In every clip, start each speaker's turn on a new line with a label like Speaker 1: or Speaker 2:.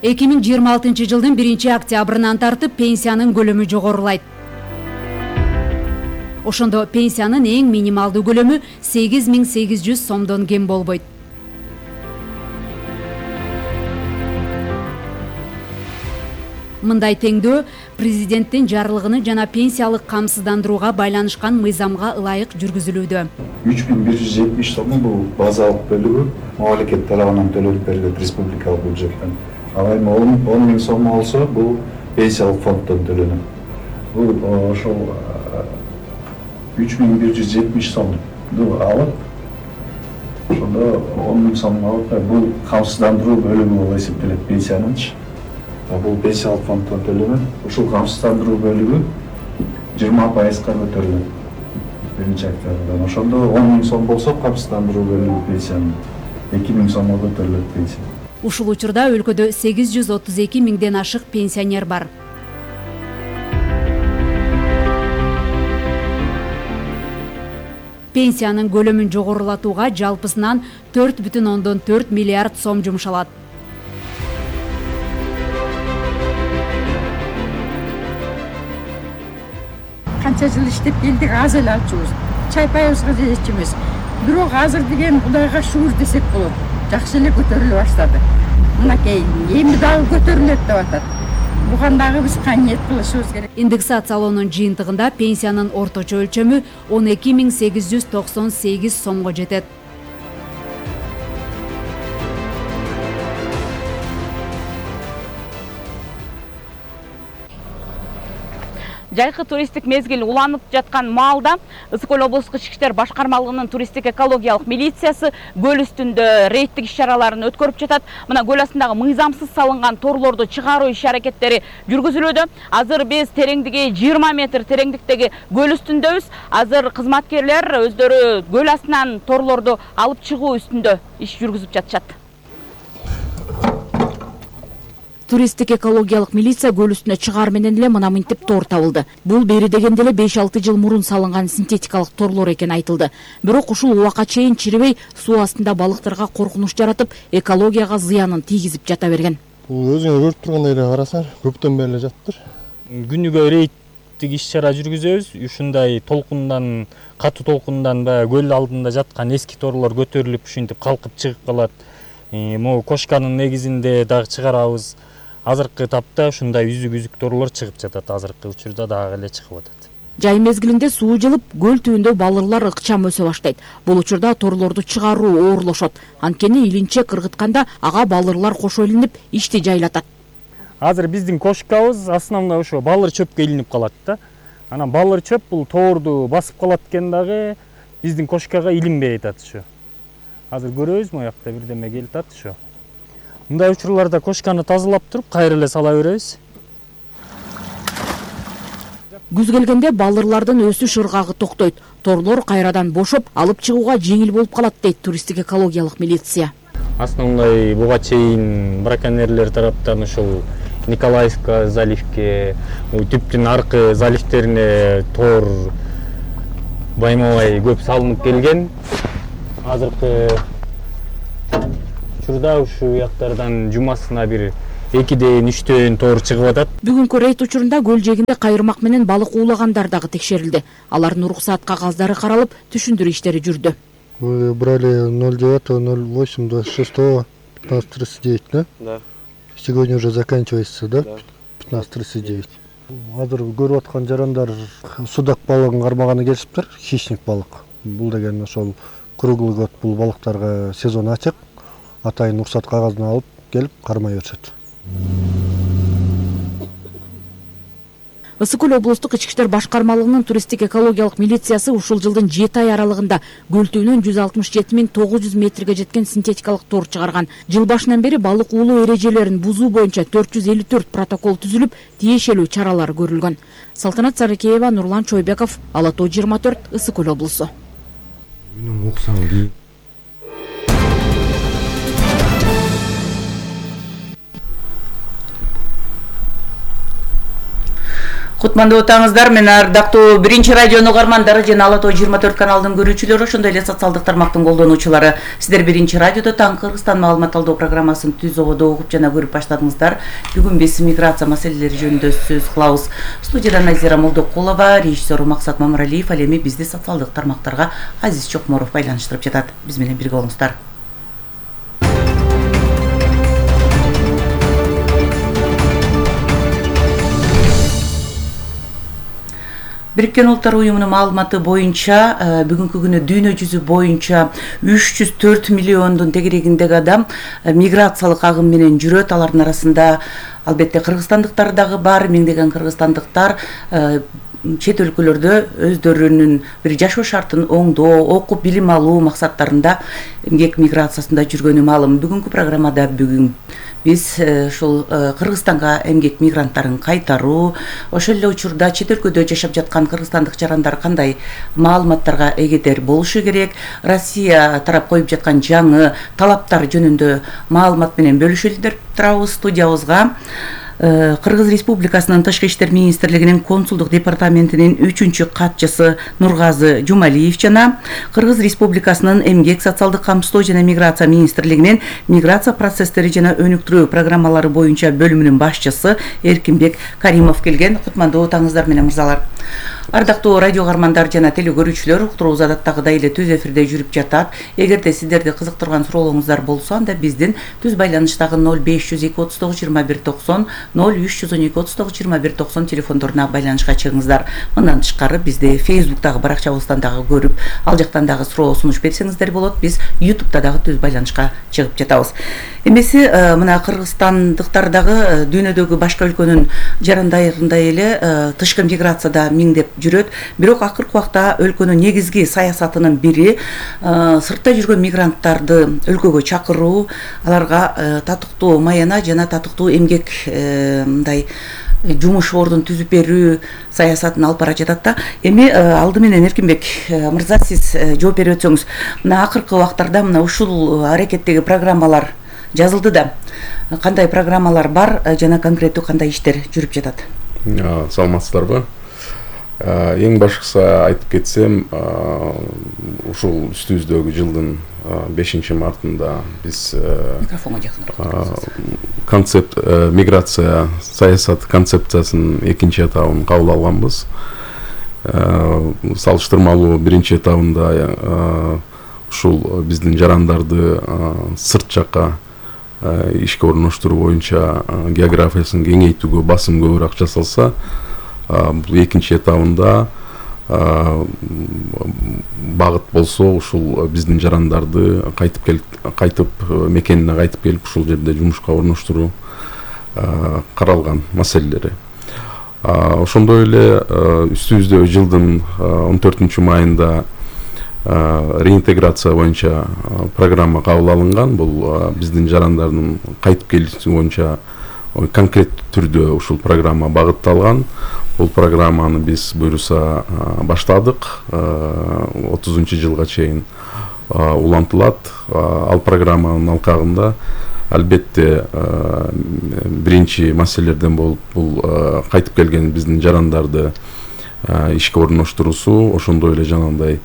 Speaker 1: 2026-жылдын 1-октябрынан тартып пенсиянын көлөмү жогорулайт. Ошондо пенсиянын эң минималдуу көлөмү 8800 сомдон кем болбойт. Мындай теңдөө президенттин жарлыгыны жана пенсиялык камсыздандырууга байланышкан мыйзамга ылайык жүргүзүлүүдө.
Speaker 2: 3170 сому бул базалык бөлүгү мамлекет тарабынан төлөнүп берилет республикалык бюджеттен. Ал эми 10 миң сом болсо бул пенсиялык фонддон төлөнөт. Бул ошол 3170 сомду алып, ошондо 10 миң сом алып, бул камсыздандыруу бөлүгү болуп эсептелет пенсиянынчы. Бул пенсиялык фонддон төлөнөт. Ушул камсыздандыруу бөлүгү 20% көтөрүлөт. 1-октябрдан. Ошондо 10 миң сом болсо камсыздандыруу бөлүгү пенсиянын 2 миң сомго көтөрүлөт пенсия.
Speaker 1: Ушул учурда өлкөдө 832 миңден ашык пенсионер бар. Пенсиянын көлөмүн жогорулатууга жалпысынан 4,4 миллиард сом жумшалат.
Speaker 3: Канча жыл иштеп келдик, аз эле алчубуз. Чайпайыбызга жетчүбүз. Бирок азыр деген Кудайга шүгүр десек болот. Жакшы эле көтөрүлө баштады. Мынакей эми дагы көтөрүлөт деп атат. Буган дагы биз кайнет кылышыбыз керек.
Speaker 1: Индексациялоонун жыйынтыгында пенсиянын орточо өлчөмү 12898 сомго жетет.
Speaker 4: Жайкы туристтик мезгил уланып жаткан маалда Ысык Көл облустук ички иштер башкармалыгынын туристтик экологиялык милициясы көл үстүндө рейдтик иш-чараларын өткөрүп жатат. Мына көл астындагы мыйзамсыз салынган торлорду чыгаруу иш-аракеттери жүргүзүлүүдө. Азыр биз тереңдиги 20 метр тереңдиктеги көл үстүндөбүз. Азыр кызматкерлер өздөрү көл астынан торлорду алып чыгуу үстүндө иш жүргүзүп жатышат.
Speaker 5: Туристтик экологиялык милиция көл үстүнө чыгаар менен эле мына мынтип тор табылды. Бул бери дегенде эле 5-6 жыл мурун салынган синтетикалык торлор экени айтылды. Бирок ушул убакка чейин чирибей суу астында балыктарга коркунуч жаратып, экологияга зыянын тийгизип жата берген.
Speaker 6: Бул өзүңөр көрүп тургандай эле карасаңар, көптөн бери эле жатыптыр.
Speaker 7: Күнүгө рейдтик иш-чара жүргүзөбүз. Ушундай толкундан, катуу толкундан баягы көл алдында жаткан эски торлор көтөрүлүп, ушинтип калкып чыгып калат. Могу кошканын негизинде дагы чыгарабыз. Азыркы тапта ушундай үзүк торлор чыгып жатат, азыркы учурда дагы эле чыгып атат.
Speaker 5: Жай мезгилинде суу жылып, көл түбүндө балырлар ыкчам өсө баштайт. Бул учурда торлорду чыгаруу оорлошот. Анткени илинчек ыргытканда ага балырлар кошо илинип, ишти жайлатат.
Speaker 7: Азыр биздин кошкабыз основной ошо балыр чөпкө илинип калат да. Анан балыр чөп бул тоорду басып калат экен дагы биздин кошкага илинбей атат ушу. Азыр көрөбүз моякта бирдеме келип атат ушу. Мындай учурларда кошканы тазалап туруп, кайра эле сала беребиз.
Speaker 5: Күз келгенде балырлардын өсүш ыргагы токтойт. Торлор кайрадан бошоп, алып чыгууга жеңил болуп калат дейт туристтик экологиялык милиция.
Speaker 7: Основной буга чейин браконьерлер тараптан ушул Николаевка заливке, түптүн аркы заливтерине тоор байма-бай көп салынып келген. Азыркы учурда ушул жактардан жумасына бир 2-3 тоор чыгып атат.
Speaker 5: Бүгүнкү рейд учурунда көл жээгинде кайырмак менен балык уулагандар дагы текшерилди. Алардын уруксаат кагаздары каралып, түшүндүрүү иштери жүрдү.
Speaker 6: Вы брали 09.08.26, 15.39, да?
Speaker 8: Да.
Speaker 6: Сегодня уже заканчивается, да? 15.39. Азыр көрүп аткан жарандар судак балыгын кармаганы келишиптир, хищник балык. Бул деген ошол круглый год бул балыктарга сезон ачык. Атайын уруксат кагазын алып келип кармай беришет.
Speaker 5: Ысык Көл облустук ички иштер башкармалыгынын туристтик экологиялык милициясы ушул жылдын 7 ай аралыгында көл түбүнөн 167.900 метрге жеткен синтетикалык тор чыгарган. Жыл башынан бери балык уулоо эрежелерин бузуу боюнча 454 протокол түзүлүп, тиешелүү чаралар көрүлгөн. Салтанат Сарыкеева, Нурлан Чойбеков, Ала Тоо 24, Ысык Көл облусу.
Speaker 8: Кутмандуу отаңыздар, мен ардактуу биринчи радионун угармандары жана Ала Тоо 24 каналынын көрүүчүлөрү, ошондой эле социалдык тармактын колдонуучулары. Сиздер биринчи радиодо Таң Кыргызстан маалымат алуу программасын түз ободо угуп жана көрүп баштадыңыздар. Бүгүн биз миграция маселелери жөнүндө сөз кылабыз. Студияда Назира Молдокулова, режиссер Максат Мамыралиев, ал эми бизди социалдык тармактарга Азиз Чокморов байланыштырып жатат. Биз менен бирге болуңуздар. Бириккен Улуттар Уюмунун маалыматы боюнча бүгүнкү күнү дүйнө жүзү боюнча 304 миллиондун тегерегиндеги адам миграциялык агым менен жүрөт. Алардын арасында албетте кыргызстандыктар дагы бар. Миңдеген кыргызстандыктар чет өлкөлөрдө өздөрүнүн бир жашоо шартын оңдоо, окуп билим алуу максаттарында эмгек миграциясында жүргөнү маалым. Бүгүнкү программада биз ушул Кыргызстанга эмгек мигранттарын кайтаруу, ошол эле учурда чет өлкөдө жашап жаткан кыргызстандык жарандар кандай маалыматтарга эгедер болушу керек, Россия тарап коюп жаткан жаңы талаптар жөнүндө маалымат менен бөлүшөлү деп турабыз. Студиябызга Кыргыз Республикасынын Тышкы иштер министрлигинин консулдук департаментинин 3-чү катчысы Нургазы Жумалиев жана Кыргыз Республикасынын эмгек, социалдык камсыздоо жана миграция министрлигинин миграция процесстери жана өнүктүрүү программалары боюнча бөлүмүнүн башчысы Эркинбек Каримов келген. Кутмандуу отаңыздар менен мырзалар. Ардактуу радио угармандар жана теле көрүүчүлөр, уктуруубуз адаттагыдай эле түз эфирде жүрүп жатат. Эгерде сиздерди кызыктырган суроолоруңуздар болсо, анда биздин түз байланыштагы 0502 39 21 90 0312 39 21 90 телефондоруна байланышка чыгыңыздар. Мындан тышкары бизди Facebook'тагы баракчабыздан дагы көрүп, ал жактан дагы суроо сунуш берсеңиздер болот. Биз YouTube'да дагы түз байланышка чыгып жатабыз. Эмеси мына кыргызстандыктар дагы дүйнөдөгү башка өлкөнүн жарандарындай эле тышкы миграцияда миңдеп жүрөт. Бирок акыркы убакта ынын негизги саясатынын бири сыртта жүргөн мигранттарды өлкөгө чакыруу, аларга татыктуу маяна жана татыктуу эмгек мындай жумуш ордун түзүп берүү саясатын алып бара жатат да. Эми алды менен Эркинбек мырза, сиз жооп берип өтсөңүз, мына акыркы убактарда мына ушул аракеттеги программалар жазылды да. Кандай программалар бар жана конкреттүү кандай иштер жүрүп жатат?
Speaker 9: Саламатсыздарбы? Эң башкысы айтып кетсем, ушул үстүбүздөгү жылдын 5-мартында биз концепт миграция саясат концепциясынын 2-чи этабын кабыл алганбыз. Салыштырмалуу 1-чи этабында ушул биздин жарандарды сырт жакка ишке орноштуруу боюнча географиясын кеңейтүүгө басым көбүрөөк жасалса, бул 2-чи этабында багыт болсо ушул биздин жарандарды кайтып мекенине кайтып келип ушул жерде жумушка орноштуруу каралган маселелери. Ошондой эле үстүбүздө жылдын 14-майында реинтеграция боюнча программа кабыл алынган. Бул биздин жарандардын кайтып келиши боюнча конкреттүү түрдө ушул программа багытталган. Бул программаны биз буюрса баштадык. 30-жылга чейин улантылат. Ал программанын алкагында албетте биринчи маселелерден болуп бул кайтып келген биздин жарандарды ишке орноштуруусу, ошондой эле жанагындай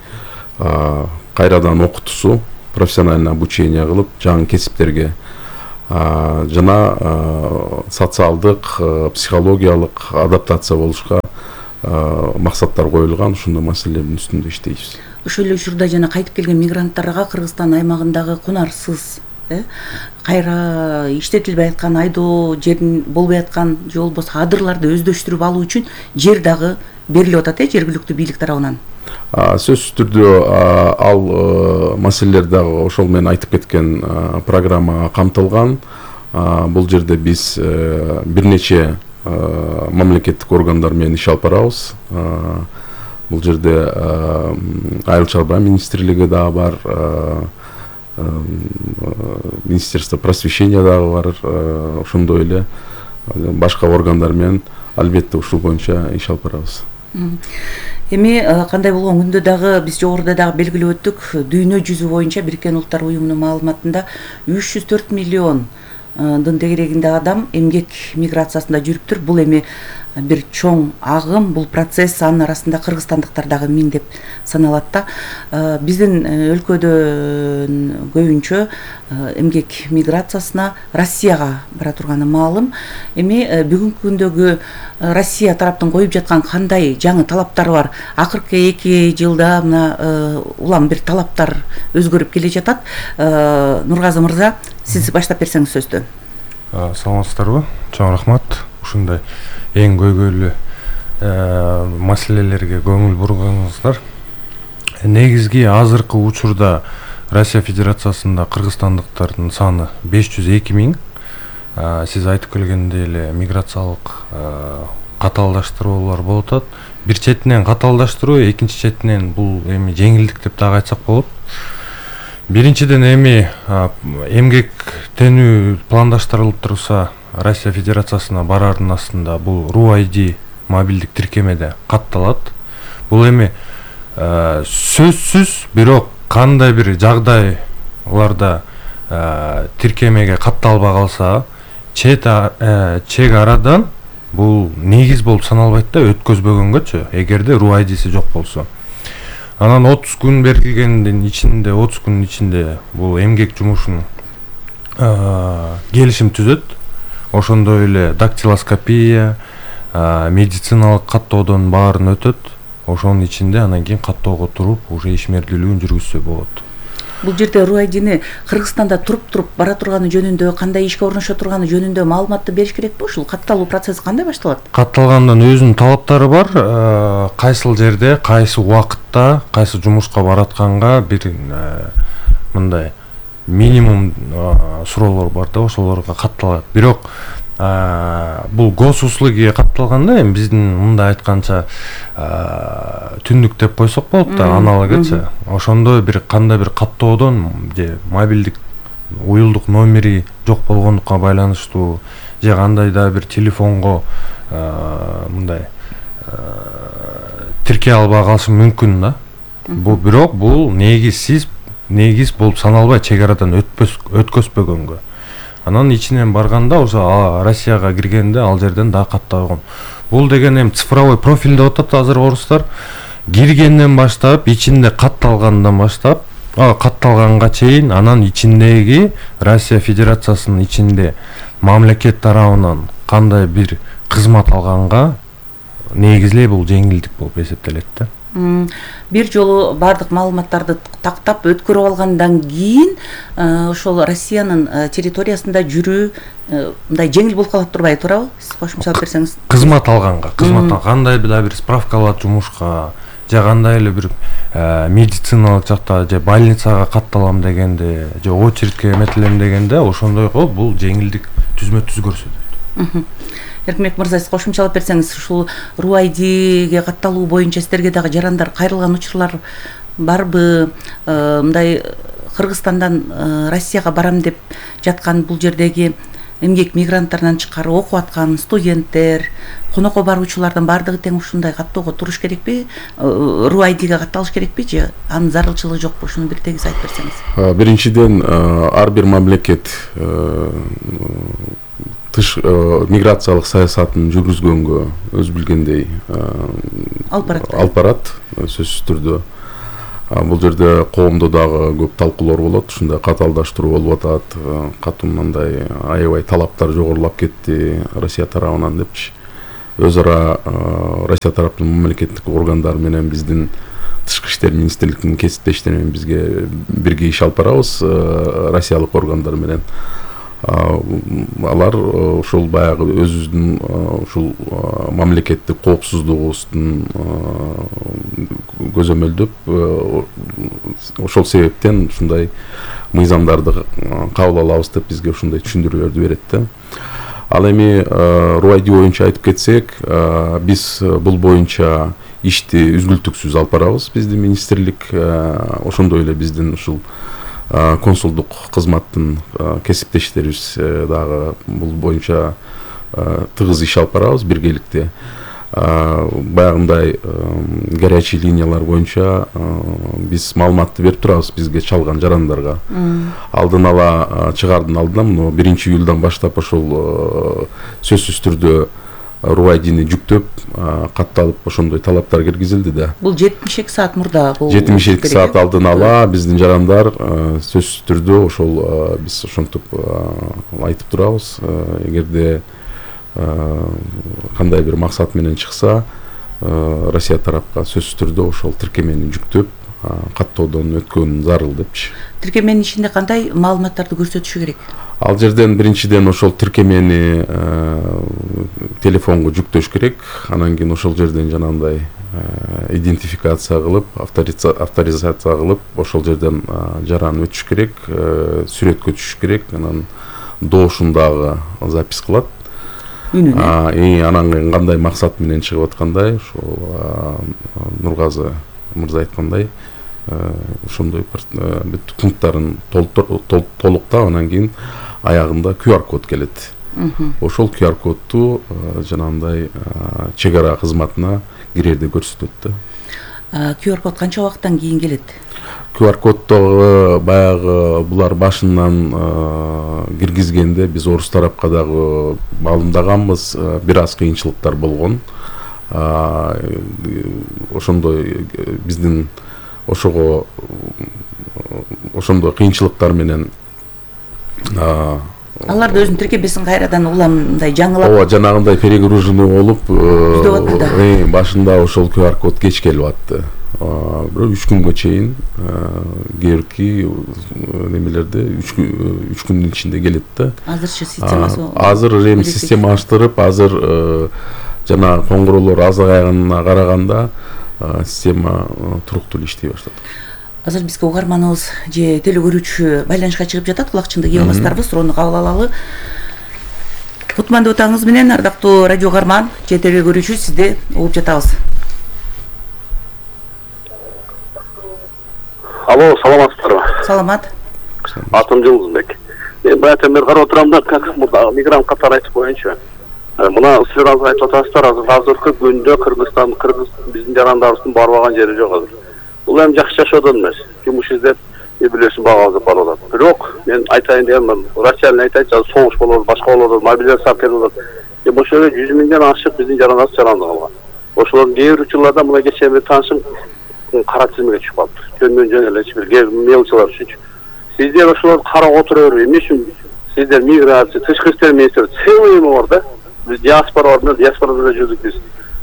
Speaker 9: кайрадан окутуусу, профессиональный обучение кылып, жаңы кесиптерге жана социалдык, психологиялык адаптация болушка максаттар коюлган. Ушундай маселелердин үстүндө иштейбиз.
Speaker 8: Ошол эле учурда жана кайтып келген мигранттарга Кыргызстан аймагындагы кунарсыз, кайра иштетилбей аткан айдоо жерин болбой аткан же болбосо адырларды өздөштүрүп алуу үчүн жер дагы берилип атат жергиликтүү бийлик тарабынан.
Speaker 9: Сөзсүз түрдө ал маселелер дагы ошол менен айтып кеткен программага камтылган. Бул жерде биз бир нече мамлекеттик органдар менен иш алып барабыз. Бул жерде Айыл чарба министрлиги дагы бар, Министерство просвещения дагы бар, ошондой эле башка органдар менен албетте ушул боюнча иш алып барабыз.
Speaker 8: Эми кандай болгон күндө дагы биз жогоруда дагы белгилеп өттүк, дүйнө жүзү боюнча Бириккен Улуттар Уюмунун маалыматында 304 миллион тегерегинде адам эмгек миграциясында жүрүптүр. Бул эми бир чоң агым, бул процесс, анын арасында кыргызстандыктар дагы миңдеп саналат да. Биздин өлкөдө көбүнчө эмгек миграциясына Россияга бара турганы маалым. Эми бүгүнкү күндөгү Россия тараптын коюп жаткан кандай жаңы талаптары бар? Акыркы 2 жылда мына улам бир талаптар өзгөрүп келе жатат. Нургазы мырза, сиз баштап берсеңиз сөздү.
Speaker 10: Саламатсыздарбы? Чоң рахмат. Ушундай эң көйгөйлүү маселелерге көңүл бурганыңыздар. Негизги азыркы учурда Россия Федерациясында кыргызстандыктардын саны 502 миң. Сиз айтып келгендей эле миграциялык катаалдаштыруулар болуп атат. Бир четинен катаалдаштыруу, экинчи четинен бул эми жеңилдик деп дагы айтсак болот. Биринчиден эми эмгектенүү пландаштырылып турса, Россия Федерациясына барардын астында бул RUID мобилдик тиркемеде катталат. Бул эми сөзсүз, бирок кандай бир жагдайларда тиркемеге катталбай калса, чек арадан бул негиз болуп саналбайт да, өткөзбөгөнгөчү, эгерде RUID-си жок болсо. Анан 30 күн берилгендин ичинде, 30 күнүн ичинде бул эмгек жумушун келишим түзөт. Ошондой эле дактилоскопия, медициналык каттоодон баарын өтөт. Ошонун ичинде анан кийин каттоого туруп, уже ишмердүүлүгүн жүргүзсө болот.
Speaker 8: Бул жерде RUID-ни Кыргызстанда туруп бара турганы жөнүндө, кандай ишке орношо турганы жөнүндө маалыматты бериш керекпи? Ушул катталуу процесси кандай башталат?
Speaker 10: Катталгандан өзүнүн талаптары бар. Кайсыл жерде, кайсы убакытта, кайсы жумушка баратканга бир мындай минимум суроолор бар да, ошолорго катталат. Бирок бул госуслугиге катталганда эми биздин мындай айтканча түндүк деп койсок болот да, аналогычы. Ошондой бир кандай бир каттоодон же мобилдик уюлдук номери жок болгондукка байланыштуу же кандай да бир телефонго мындай тиркей албай калышы мүмкүн да. Бирок бул негизсиз болуп саналбайт, чек арадан өткөзбөгөнгө. Анан ичинен барганда ошо Россияга киргенде ал жерден да катталган. Бул деген эми цифровой профиль деп атат азыр орустар. Киргенден баштап, ичинде катталгандан баштап, катталганга чейин анан ичиндеги Россия Федерациясынын ичинде мамлекет тарабынан кандай бир кызмат алганга негизлей бул жеңилдик болуп эсептелет да.
Speaker 8: Бир жолу бардык маалыматтарды тактап өткөрүп алгандан кийин ошол Россиянын территориясында жүрүү мындай жеңил болуп калат турбайбы, туурабы? Сиз кошумча алып берсеңиз.
Speaker 10: Кызмат алганга, кандай да бир справка алат жумушка, же кандай эле бир медициналык жакта же больницага катталам дегенде, же очередке эметилем дегенде, ошондойго бул жеңилдик түзмө-түз көрсөтөт.
Speaker 8: Эркинбек мырза, сиз кошумча алып берсеңиз, ушул RUID-ге катталуу боюнча сиздерге дагы жарандар кайрылган учурлар барбы? Мындай Кыргызстандан Россияга барам деп жаткан бул жердеги эмгек мигранттарынан тышкары окуп аткан студенттер, конокко баруучулардын баардыгы тең ушундай каттоого туруш керекпи? RUID-ге катталыш керекпи же анын зарылчылыгы жокпу? Ушуну бир тегиз айтып берсеңиз.
Speaker 9: Биринчиден, ар бир мамлекет миграциялык саясатын жүргүзгөнгө өз билгендей алып барат, сөзсүз түрдө. Бул жерде коомдо дагы көп талкуулар болот, ушундай катаалдаштыруу болуп атат, катуу мындай аябай талаптар жогорулап кетти Россия тарабынан депчи. Өз ара Россия тараптын мамлекеттик органдары менен биздин Тышкы иштер министрлигинин кесиптештери менен бизге бирге иш алып барабыз, россиялык органдар менен. Алар ушул баягы өзүбүздүн ушул мамлекеттик коопсуздугубуздун көзөмөлдөп, ошол себептен ушундай мыйзамдарды кабыл алабыз деп бизге ушундай түшүндүрүүлөрдү берет да. Ал эми RUID боюнча айтып кетсек, биз бул боюнча ишти үзгүлтүксүз алып барабыз, биздин министрлик, ошондой эле биздин ушул консулдук кызматтын кесиптештерибиз дагы бул боюнча тыгыз иш алып барабыз биргеликте. баягындай горячий линиялар боюнча биз маалыматты берип турабыз бизге чалган жарандарга. Алдын ала чыгаардын алдынан 1-июлдан баштап ошол сөзсүз түрдө РУ-айдини жүктөп катталып ошондой талаптар киргизилди да.
Speaker 8: Бул 72 саат мурда бул
Speaker 9: 72 саат алдын ала биздин жарандар сөзсүз түрдө ошол биз ошентип айтып турабыз. Эгерде кандай бир максат менен чыкса, Россия тарапка сөзсүз түрдө ошол тиркемени жүктөп каттоодон өткөн зарыл депчи.
Speaker 8: Тиркеменин ичинде кандай маалыматтарды көрсөтүшү керек?
Speaker 9: Ал жерден биринчиден ошол тиркемени телефонго жүктөш керек. Анан кийин ошол жерден жанагындай идентификация кылып, авторизация кылып, ошол жерден жаран өтүш керек, сүрөткө түшүш керек. Анан доошундагы запись кылат. Анан кандай максат менен чыгып аткандай, ошол Нургазы мырза айткандай, ошондой бүт пункттарын толуктап, анан кийин аягында QR код келет. Ошол QR кодду жанагындай чек ара кызматына кирерде көрсөтөт да.
Speaker 8: QR код канча убакыттан кийин келет?
Speaker 9: QR коддогу баягы булар башынан киргизгенде биз орус тарапка дагы маалымдаганбыз, бир аз кыйынчылыктар болгон. Ошондой биздин ошого ошондой кыйынчылыктар менен
Speaker 8: алар да өзүнүн тиркемесин кайрадан уламындай жаңылап.
Speaker 9: Ооба, жанагындай перегруженный болуп, башында ошол QR код кеч келип атты. Бирок 3 күнгө чейин кээбирки немелерде 3 күндүн ичинде келет да.
Speaker 8: Азырчы системасы.
Speaker 9: Азыр эми система аштырып, азыр жана коңгуроолор азайганына караганда система туруктуу иштей баштады.
Speaker 8: Азыр бизге угарманыбыз же теле көрүүчү байланышка чыгып жатат, кулакчынды кие аласыздарбы? Суроону кабыл алалы. Кутмандуу таңыңыз менен, ардактуу радио угарман же теле көрүүчү, сизди угуп жатабыз.
Speaker 11: Алло, саламатсыздарбы?
Speaker 8: Саламат.
Speaker 11: Атым Жылдызбек. Мен баягы бери карап отурам да, как мурда мигрант катары айтып боюнча. Мына силер айтып атасыздар, азыркы күндө Кыргызстан, биздин жарандарыбыздын барбаган жери жок азыр. Бул эми жакшы жашоодон эмес. Жумуш издеп, билесиң багабызды барып атат. Бирок мен айтайын дегенмин, Россиянын айтайынча согуш болот, башка болот, мобилизация болот. Ошол 100 миңден ашык биздин жарандар жаранды калган. Ошолордун кээ бир учурларда мына кечээ бир таанышым кара тизмеге чыгып калыптыр. Жөн эле бир мелчилар үчүн. Сиздер ошолорду карап отура бербей, эмне үчүн сиздер миграция, тышкы иштер министри целый бар да. Биз диаспорада жүрдүк биз.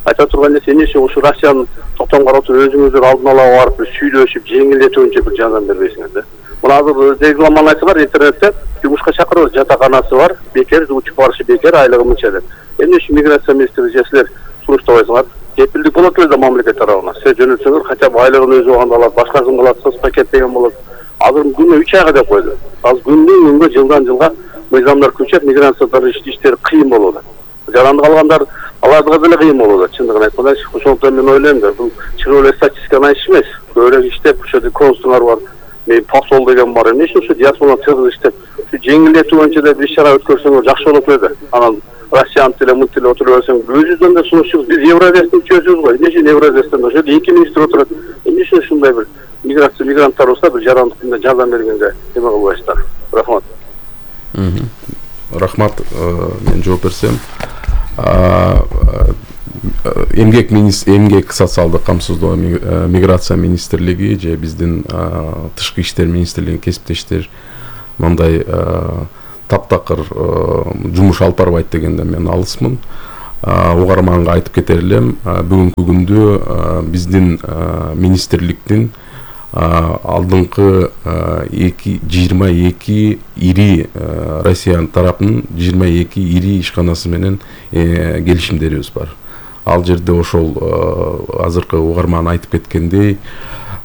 Speaker 11: Айта турган нерсе эмне үчүн ошо Россиянын токтом карап туруп өзүңүздөр алдын ала барып сүйлөшүп, жеңилдетүүнчө бир жардам бербейсиңер да. Мына азыр регламент бар интернетте, жумушка чакырып, жатаканасы бар, бекер, учуп барышы бекер, айлыгы мынча деп. Эмне үчүн миграция министри же силер суруштабайсыңар? Кепилдик болот эле да мамлекет тарабынан. Сиз жөнөтсөңөр, хотя бы айлыгын өзү убагында алат, башкасын кылат, соцпакет деген болот. Азыр күнүнө 3 айга деп койду. Азыр күндөн-күнгө, жылдан жылга мыйзамдар күчөп, миграциялар иштери кыйын болот. Жаранды калгандар аларга деле кыйын болот, чындыгын айтканда. Ошондуктан мен ойлойм да, бул чыгып эле статистиканы айтыш эмес. Көбүрөөк иштеп, ошо консулдар бар, мен посол деген бар. Эмне үчүн ушу диаспораны тыгыз иштеп, ушу жеңилдетүү боюнча да бир иш-чара өткөрсөңөр жакшы болот эле. Анан Россиянын тиле, мынт тиле отуруп берсең, өзүбүздөн да сунушчубуз. Биз Евразияны чөзөбүз го. Эмне үчүн Евразиядан ошо 2 министр отурат. Эмне үчүн ушундай бир мигранттар болсо, бир жарандыкта жардам бергенге эме кылбайсыздар. Рахмат.
Speaker 9: Рахмат, мен жооп берсем. Эмгек социалдык камсыздоо миграция министрлиги же биздин тышкы иштер министрлигинин кесиптештер мындай таптакыр жумуш алып барбайт дегенде мен алысмын. Угарманга айтып кетер элем, бүгүнкү күндө биздин министрликтин алдыңкы 22 ири Россия тарапынын 22 ири ишканасы менен келишимдерибиз бар. Ал жерде ошол азыркы угарман айтып кеткендей,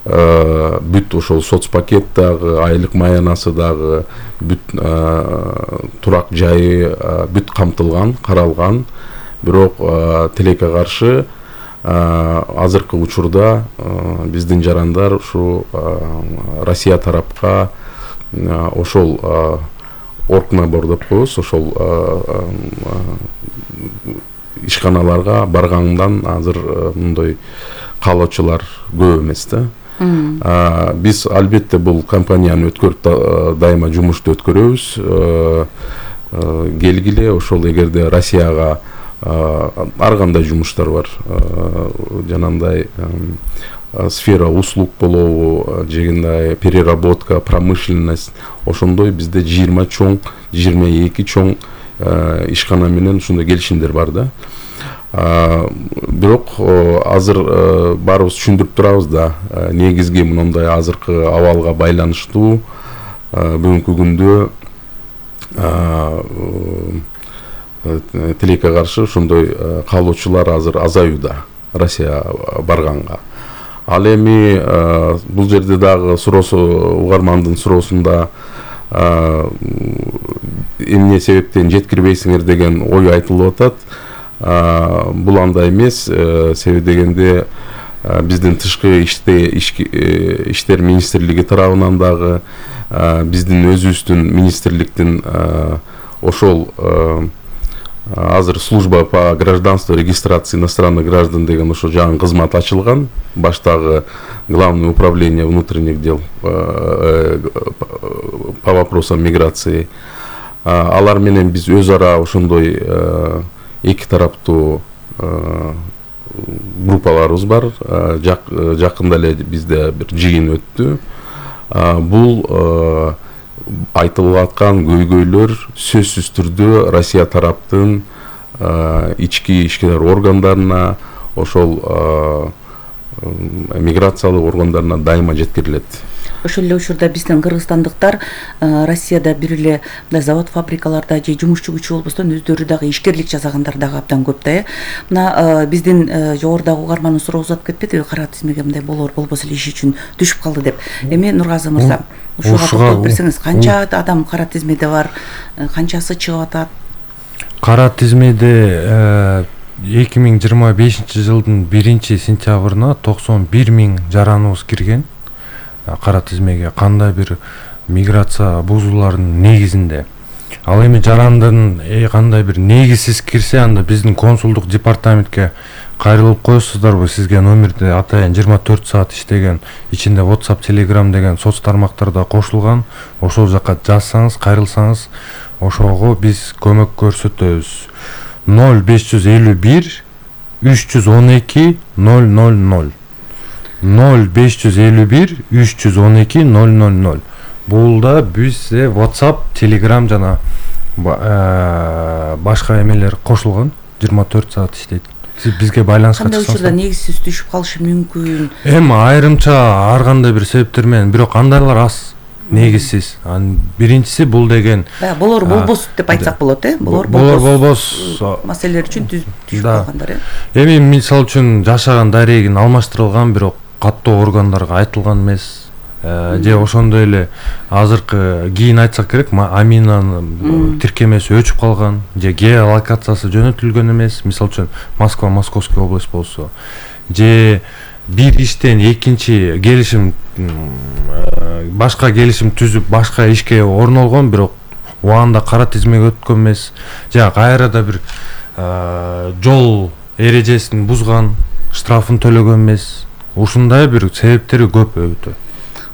Speaker 9: бүт ошол соцпакет дагы, айлык маянасы дагы, бүт турак жайы бүт камтылган, каралган. Бирок тилекке каршы азыркы учурда биздин жарандар ушу Россия тарапка ошол оргнабор деп коебуз, ошол ишканаларга баргандан азыр мындай каалоочулар көп эмес да. Биз албетте бул компанияны өткөрүп дайыма жумушту өткөрөбүз. Келгиле, ошол эгерде Россияга ар кандай жумуштар бар. Жанагындай сфера услуг болобу, жегиндай переработка, промышленность, ошондой бизде 20 чоң, 22 чоң ишкана менен ушундай келишимдер бар да. Бирок азыр баарыбыз түшүндүрүп турабыз да, негизги мындай азыркы абалга байланыштуу бүгүнкү күндө тилекке каршы ошондой каалоочулар азыр азаюуда Россия барганга. Ал эми бул жерде дагы суроосу, угармандын суроосунда эмне себептен жеткирбейсиңер деген ой айтылып атат. Бул андай эмес, себеби дегенде биздин тышкы иштер министрлиги тарабынан дагы биздин өзүбүздүн министрликтин ошол азыр служба по гражданству регистрации иностранных граждан деген ошо жаңы кызмат ачылган. Баштагы Главное управление внутренних дел по вопросам миграции. Алар менен биз өз ара ошондой эки тараптуу группаларыбыз бар. Жакында эле бизде бир жыйын өттү. Бул айтылып аткан көйгөйлөр сөзсүз түрдө Россия тараптын ички ишкер органдарына, ошол миграциялык органдарына дайыма жеткирилет.
Speaker 8: Ошол эле учурда биздин кыргызстандыктар Россияда бир эле завод фабрикаларда же жумушчу күчү болбостон өздөрү дагы ишкерлик жасагандар дагы абдан көп да. Мына биздин жогорудагы угармандын суроо узап кетпедиби, кара тизмеге мындай болбосо эле иш үчүн түшүп калды деп. Эми Нургазы мырза, ушуга токтолуп берсеңиз, канча адам кара тизмеде бар, канчасы чыгып атат?
Speaker 10: Кара тизмеде 2025 жылдын 1-сентябрына 91 000 жараныбыз кирген. Кара тизмеге кандай бир миграция бузуулардын негизинде. Ал эми жарандын кандай бир негизсиз кирсе, анда биздин консулдук департаментке кайрылып коесуздарбы, сизге номерди атайын 24 саат иштеген, ичинде WhatsApp, Telegram деген соц тармактарда кошулган. Ошол жака жазсаңыз, кайрылсаңыз, ошого биз көмөк көрсөтөбүз. 0551 312 000 0551 312 000. Бул да бизде WhatsApp, Telegram жана башка эмелер кошулган, 24 саат иштейт. Сиз бизге байланышка чыксаңыз.
Speaker 8: Кандай учурда негизсиз түшүп калышы мүмкүн?
Speaker 10: Эми айрымча ар кандай бир себептер менен, бирок андайлар аз. Негизсиз. Биринчиси бул деген
Speaker 8: болор болбос деп айтсак болот, болор
Speaker 10: болбос
Speaker 8: маселелер үчүн түшүп калгандар.
Speaker 10: Эми мисалы үчүн жашаган дарегин алмаштырылган, бирок каттоо органдарга айтылган эмес. Же ошондой эле азыркы кийин айтсак керек, Аминанын тиркемеси өчүп калган, же геолокациясы жөнөтүлгөн эмес. Мисалы үчүн Москва, Московский область болсо, же бир иштен экинчи келишим, башка келишим түзүп, башка ишке орнолгон, бирок убагында кара тизмеге өткөн эмес, же кайрада бир жол эрежесин бузган, штрафын төлөгөн эмес. Ушундай бир себептери көп өтө.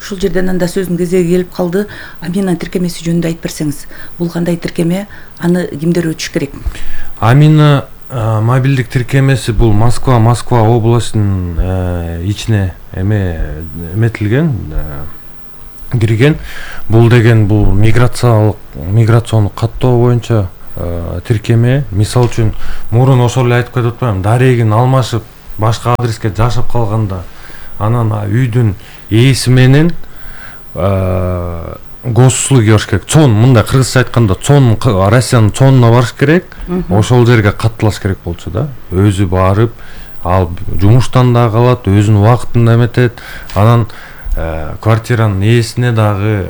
Speaker 8: Ушул жерден анда сөздүн кезеги келип калды. Амина тиркемеси жөнүндө айтып берсеңиз, бул кандай тиркеме, аны кимдер өтүш керек?
Speaker 10: Амина мобилдик тиркемеси бул Москва областынын ичине эметилген, кирген. Бул деген бул миграциондук каттоо боюнча тиркеме. Мисалы үчүн мурун ошол эле айтып кетип атпаймынбы, дарегин алмашып башка адреске жашап калганда, анан үйдүн ээси менен госуслуги барыш керек. Чон, мындай кыргызча айтканда, чон, Россиянын чонуна барыш керек. Ошол жерге катталаш керек болчу да. Өзү барып, ал жумуштан да калат, өзүнүн убактында эметет. Анан квартиранын ээсине дагы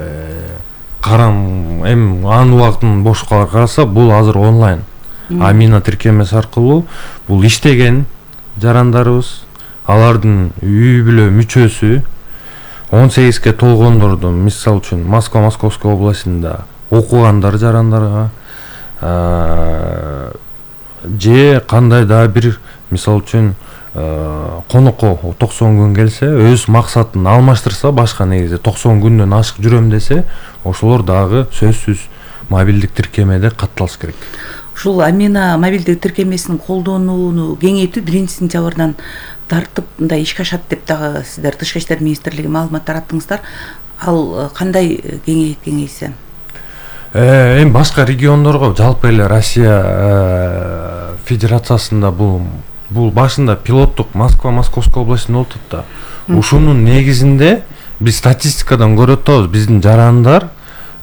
Speaker 10: карам, анын убактын боштуктарын караса, бул азыр онлайн. Амина тиркемеси аркылуу бул иштеген жарандарыбыз, алардын үй бүлө мүчөсү 18-ке толгондордун, мисалы үчүн Москва, Московский областында окугандар жарандарга же кандай да бир мисалы үчүн конокко 90 күн келсе, өз максатын алмаштырса, башка негизи 90 күндөн ашык жүрөм десе, ошолор дагы сөзсүз мобилдик тиркемеде катталыш керек.
Speaker 8: Ушул Амина мобилдик тиркемесин колдонууну кеңейтүү 1-сентябрдан тартып мындай ишке ашат деп дагы сиздер Тышкы иштер министрлиги маалымат тараттыңыздар. Ал кандай кеңейсе?
Speaker 10: Эми башка региондорго, жалпы эле Россия Федерациясында бул башында пилоттук Московская областында болуп атат да. Ушунун негизинде биз статистикадан көрүп атабыз, биздин жарандар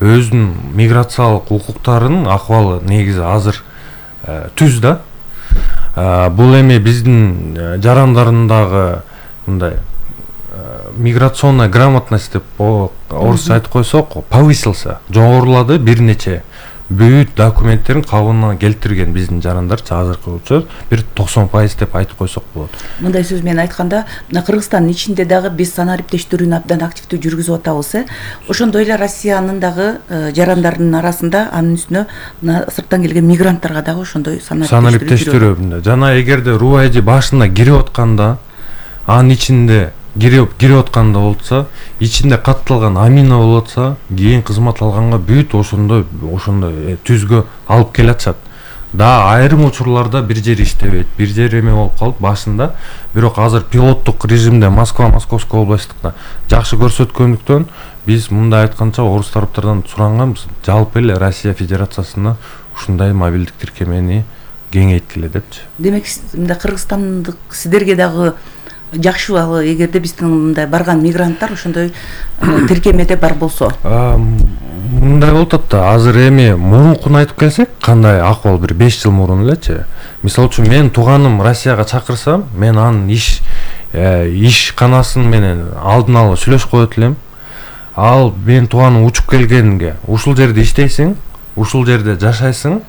Speaker 10: өзүнүн миграциялык укуктарынын акыбалы негизи азыр түз да. Бул эми биздин жарандардагы мындай миграционная грамотность деп орусча айтып койсок, повысился, жогорулады, бир нече бүт документтерин кабылына келтирген биздин жарандарчы азыркы учур бир 90% деп айтып койсок болот.
Speaker 8: Мындай сөз менен айтканда, мына Кыргызстандын ичинде дагы биз санариптештирүүнү абдан активдүү жүргүзүп атабыз. Ошондой эле Россиянын дагы жарандарынын арасында анын үстүнө мына сырттан келген мигранттарга дагы ошондой
Speaker 10: санариптештирүү. Жана эгерде Рубайжы башына кирип атканда, анын ичинде кирип атканда болсо, ичинде катталган Амина болотса, кийин кызмат алганга бүт ошондой түзгө алып келатышат. Да, айрым учурларда бир жери иштебейт, бир жери эме болуп калып башында, бирок азыр пилоттук режимде Московская областында жакшы көрсөткөндүктөн биз мындай айтканча орус тараптардан суранганбыз, жалпы эле Россия Федерациясына ушундай мобилдик тиркемени кеңейткиле депчи.
Speaker 8: Демек, мындай Кыргызстандык сиздерге дагы жакшы ал эгерде биздин мындай барган мигранттар ошондой тиркемеде бар болсо.
Speaker 10: Мындай болуп атат да, азыр эми мурункун айтып келсек, кандай акыбал бир 5 жыл мурун элечи. Мисалы үчүн мен тууганым Россияга чакырсам, мен анын ишканасын менен алдын ала сүйлөшүп коет элем. Ал мен тууганым учуп келгенге, ушул жерде иштейсиң, ушул жерде жашайсың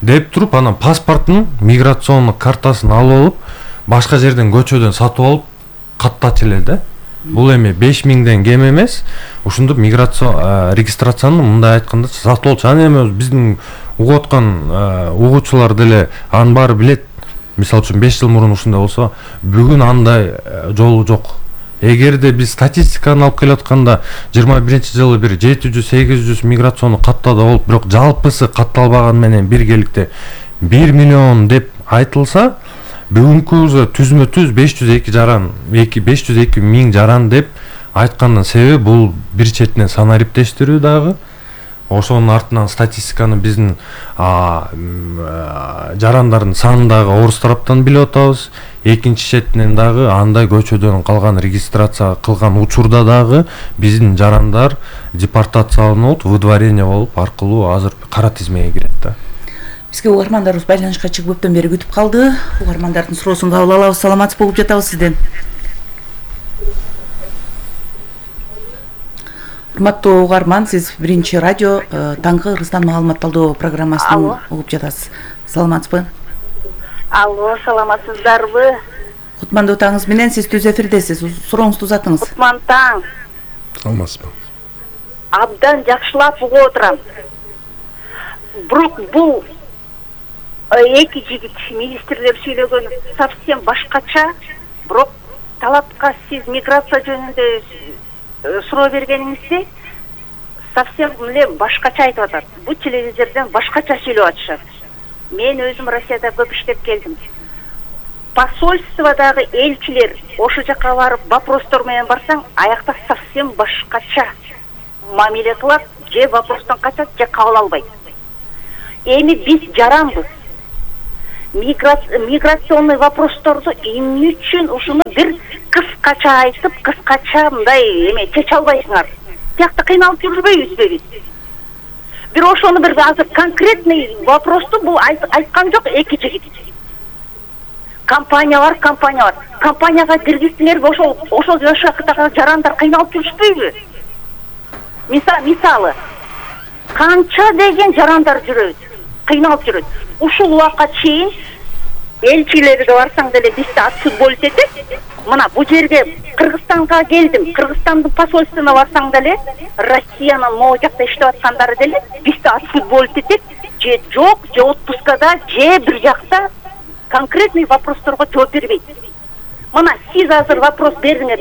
Speaker 10: деп туруп, анан паспортун, миграционный картасын алып алып, башка жерден көчөдөн сатып алып каттачу эле да. Бул эми 5000ден кем эмес. Ушунду миграция регистрацияны мындай айтканда сатып алчу. Аны эми биздин угуп аткан угуучулар деле анын баары билет. Мисалы үчүн 5 жыл мурун ушундай болсо, бүгүн андай жолу жок. Эгерде биз статистиканы алып келатканда 21-жылы бир 700-800 миграциону каттады болуп, бирок жалпысы катталбаган менен биргеликте 1 миллион деп айтылса, бүгүнкү түзмө-түз 502 жаран, 502 миң жаран деп айткандын себеби бул бир четинен санариптештирүү дагы, ошонун артынан статистиканы биздин жарандардын санын дагы орус тараптан билип атабыз. Экинчи четинен дагы андай көчөдөн калган регистрация кылган учурда дагы биздин жарандар депортацияланып, выдворение болуп аркылуу азыр кара тизмеге кирет да.
Speaker 8: Бизге угармандарыбыз байланышка чыгып көптөн бери күтүп калды. Угармандардын суроосун кабыл алабыз. Саламатсыз болуп жатабыз сизден. Урматтуу угарман, сиз биринчи радио таңкы Кыргызстан маалыматталдоо программасын угуп жатасыз. Саламатсызбы?
Speaker 12: Алло, саламатсыздарбы?
Speaker 8: Кутмандуу таңыңыз менен, сиз түз эфирдесиз. Сурооңузду узатыңыз.
Speaker 12: Кутман таң.
Speaker 9: Саламатсызбы?
Speaker 12: Абдан жакшылап угуп отурам. Бирок бул эки жигит министрлер сүйлөгөнү совсем башкача, бирок талапка сиз миграция жөнүндө суроо бергениңизде совсем эле башкача айтып атат. Бул телевизордон башкача сүйлөп атышат. Мен өзүм Россияда көп иштеп келдим. Посольстводагы элчилер ошо жака барып вопростор менен барсаң, аякта совсем башкача мамиле кылат, же вопростон качат, же кабыл албайт. Эми биз жаранбыз. Миграционный вопросторду эмне үчүн ушуну бир кыскача айтып, кыскача мындай эме чече албайсыңар? Тиякта кыйналып жүрбөйбүзбү биз? Бир ошону бир азыр конкретный вопросту бул айткан жок эки жигит. Компаниялар. Компанияга киргизсеңерби ошол жашактагы жарандар кыйналып жүрүшпөйбү? Мисалы, канча деген жарандар жүрөт, кыйналып жүрөт. Ушул убакка чейин элчилерге барсаң деле бизде отсутствовать этет. Мына бул жерге Кыргызстанга келдим, Кыргызстандын посольствосуна барсаң деле, Россиянын могу жакта иштеп аткандары деле бизде отсутствовать этет, же жок, же отпускада, же бир жакта конкретный вопросторго жооп бербейт. Мына сиз азыр вопрос бердиңер,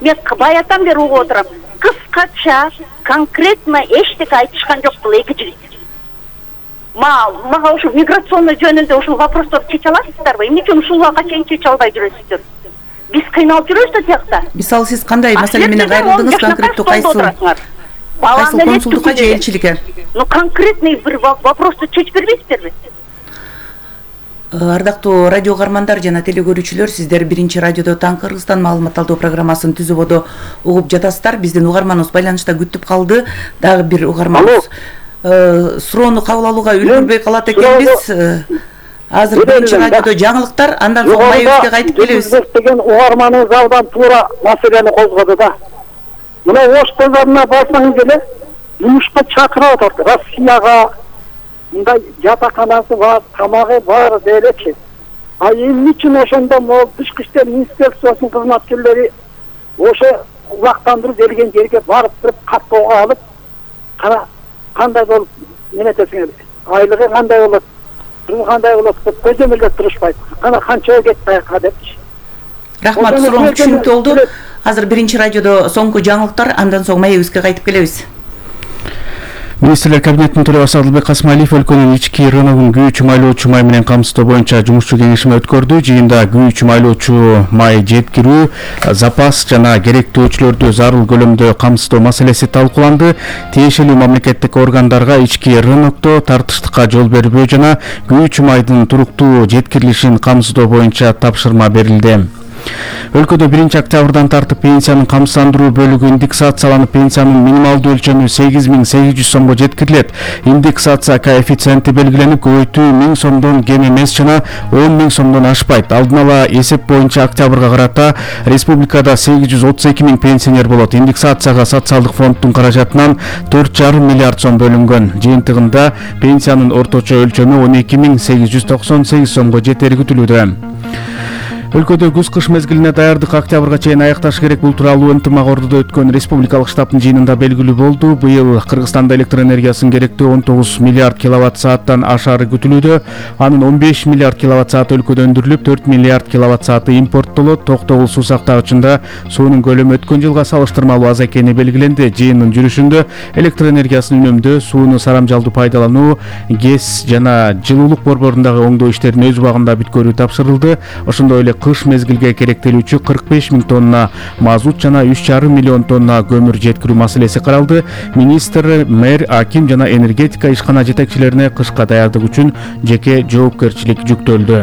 Speaker 12: мен баятан бери угуп отурам. Кыскача, конкретно эчтеке айтышкан жок бул эки жигит. Мага ушул миграционный жөнүндө ушул вопросторду чече аласыздарбы? Эмне үчүн ушул убакка чейин чече албай жүрөсүздөр? Биз кыйналып жүрөбүз да тиякта.
Speaker 8: Мисалы сиз кандай маселе менен кайрылдыңыз, конкреттүү кайсы консулдукка же элчиликке?
Speaker 12: Ну конкретный бир вопросту чечип бербейсиздерби?
Speaker 8: Ардактуу радио каармандар жана телекөрүүчүлөр, сиздер Биринчи радиодо Таң Кыргызстан маалымат алдоо программасын түзүүбөдө угуп жатасыздар. Биздин угарманыбыз байланышта күтүп калды. Дагы бир угарманыбыз суроону кабыл алууга үлгүрбөй калат экенбиз. Азыр Биринчи радиодо жаңылыктар, андан соң майыбызга кайтып келебиз.
Speaker 13: Деген угарманыбыз абдан туура маселени козгоду да. Мына Ош базарына барсаңыз эле жумушка чакырып атат. Россияга мындай жатаканасы бар, тамагы бар делечи. А эмне үчүн ошондо могу Тышкы иштер министерствосунун кызматкерлери ошо убактандыруу берген жерге барып туруп каттоого алып, кандай болуп менетесиңер? Айлыгы кандай болот? Кандай болот деп көзөмөлдөп турушпайт. Кана канчага кетти аяка депчи.
Speaker 8: Рахмат, сурооңуз түшүнүктүү болду. Азыр Биринчи радиодо соңку жаңылыктар, андан соң майыбызга кайтып келебиз.
Speaker 14: Министрлер кабинетинин төрагасы Адылбек Касымалиев өлкөнүн ички рыногун күйүүчү майлоочу май менен камсыздоо боюнча жумушчу кеңешме өткөрдү. Жыйында күйүүчү майлоочу май жеткирүү, запас жана керектөөчүлөрдү зарыл көлөмдө камсыздоо маселеси талкууланды. Тиешелүү мамлекеттик органдарга ички рынокто тартыштыкка жол бербөө жана күйүүчү майдын туруктуу жеткирилишин камсыздоо боюнча тапшырма берилди. Өлкөдө 1-октябрдан тартып пенсиянын камсыздандыруу бөлүгү индексацияланып, пенсиянын минималдуу өлчөмү 8800 сомго жеткирилет. Индексация коэффициенти белгиленип, көбөйтүү 1000 сомдон кем эмес жана 10.000 сомдон ашпайт. Алдын ала эсеп боюнча октябрга карата республикада 832 000 пенсионер болот. Индексацияга социалдык фонддун каражатынан 4,5 миллиард сом бөлүнгөн. Жыйынтыгында пенсиянын орточо өлчөмү 12.898 сомго жетери күтүлүүдө. Өлкөдө күз-кыш мезгилине даярдык октябрга чейин аякташ керек. Бул тууралуу ынтымак ордодо өткөн республикалык штабтын жыйынында белгилүү болду. Быйыл Кыргызстанда электр энергиясын керектөө 19 миллиард киловатт сааттан ашары күтүлүүдө. Анын 15 миллиард киловатт сааты өлкөдө өндүрүлүп, 4 миллиард киловатт сааты импорттолот. Токтогул суу сактагычында суунун көлөмү өткөн жылга салыштырмалуу аз экени белгиленди. Жыйындын жүрүшүндө электр энергиясын үнөмдөө, сууну сарамжалдуу пайдалануу, ГЭС жана жылуулук борборундагы оңдоо иштерин өз убагында бүткөрүү тапшырылды. Ошондой эле кыш мезгилге керектелүүчү 45 000 тонна мазут жана 3,5 миллион тонна көмүр жеткирүү маселеси каралды. Министр, мэр, аким жана энергетика ишкана жетекчилерине кышка даярдык үчүн жеке жоопкерчилик жүктөлдү.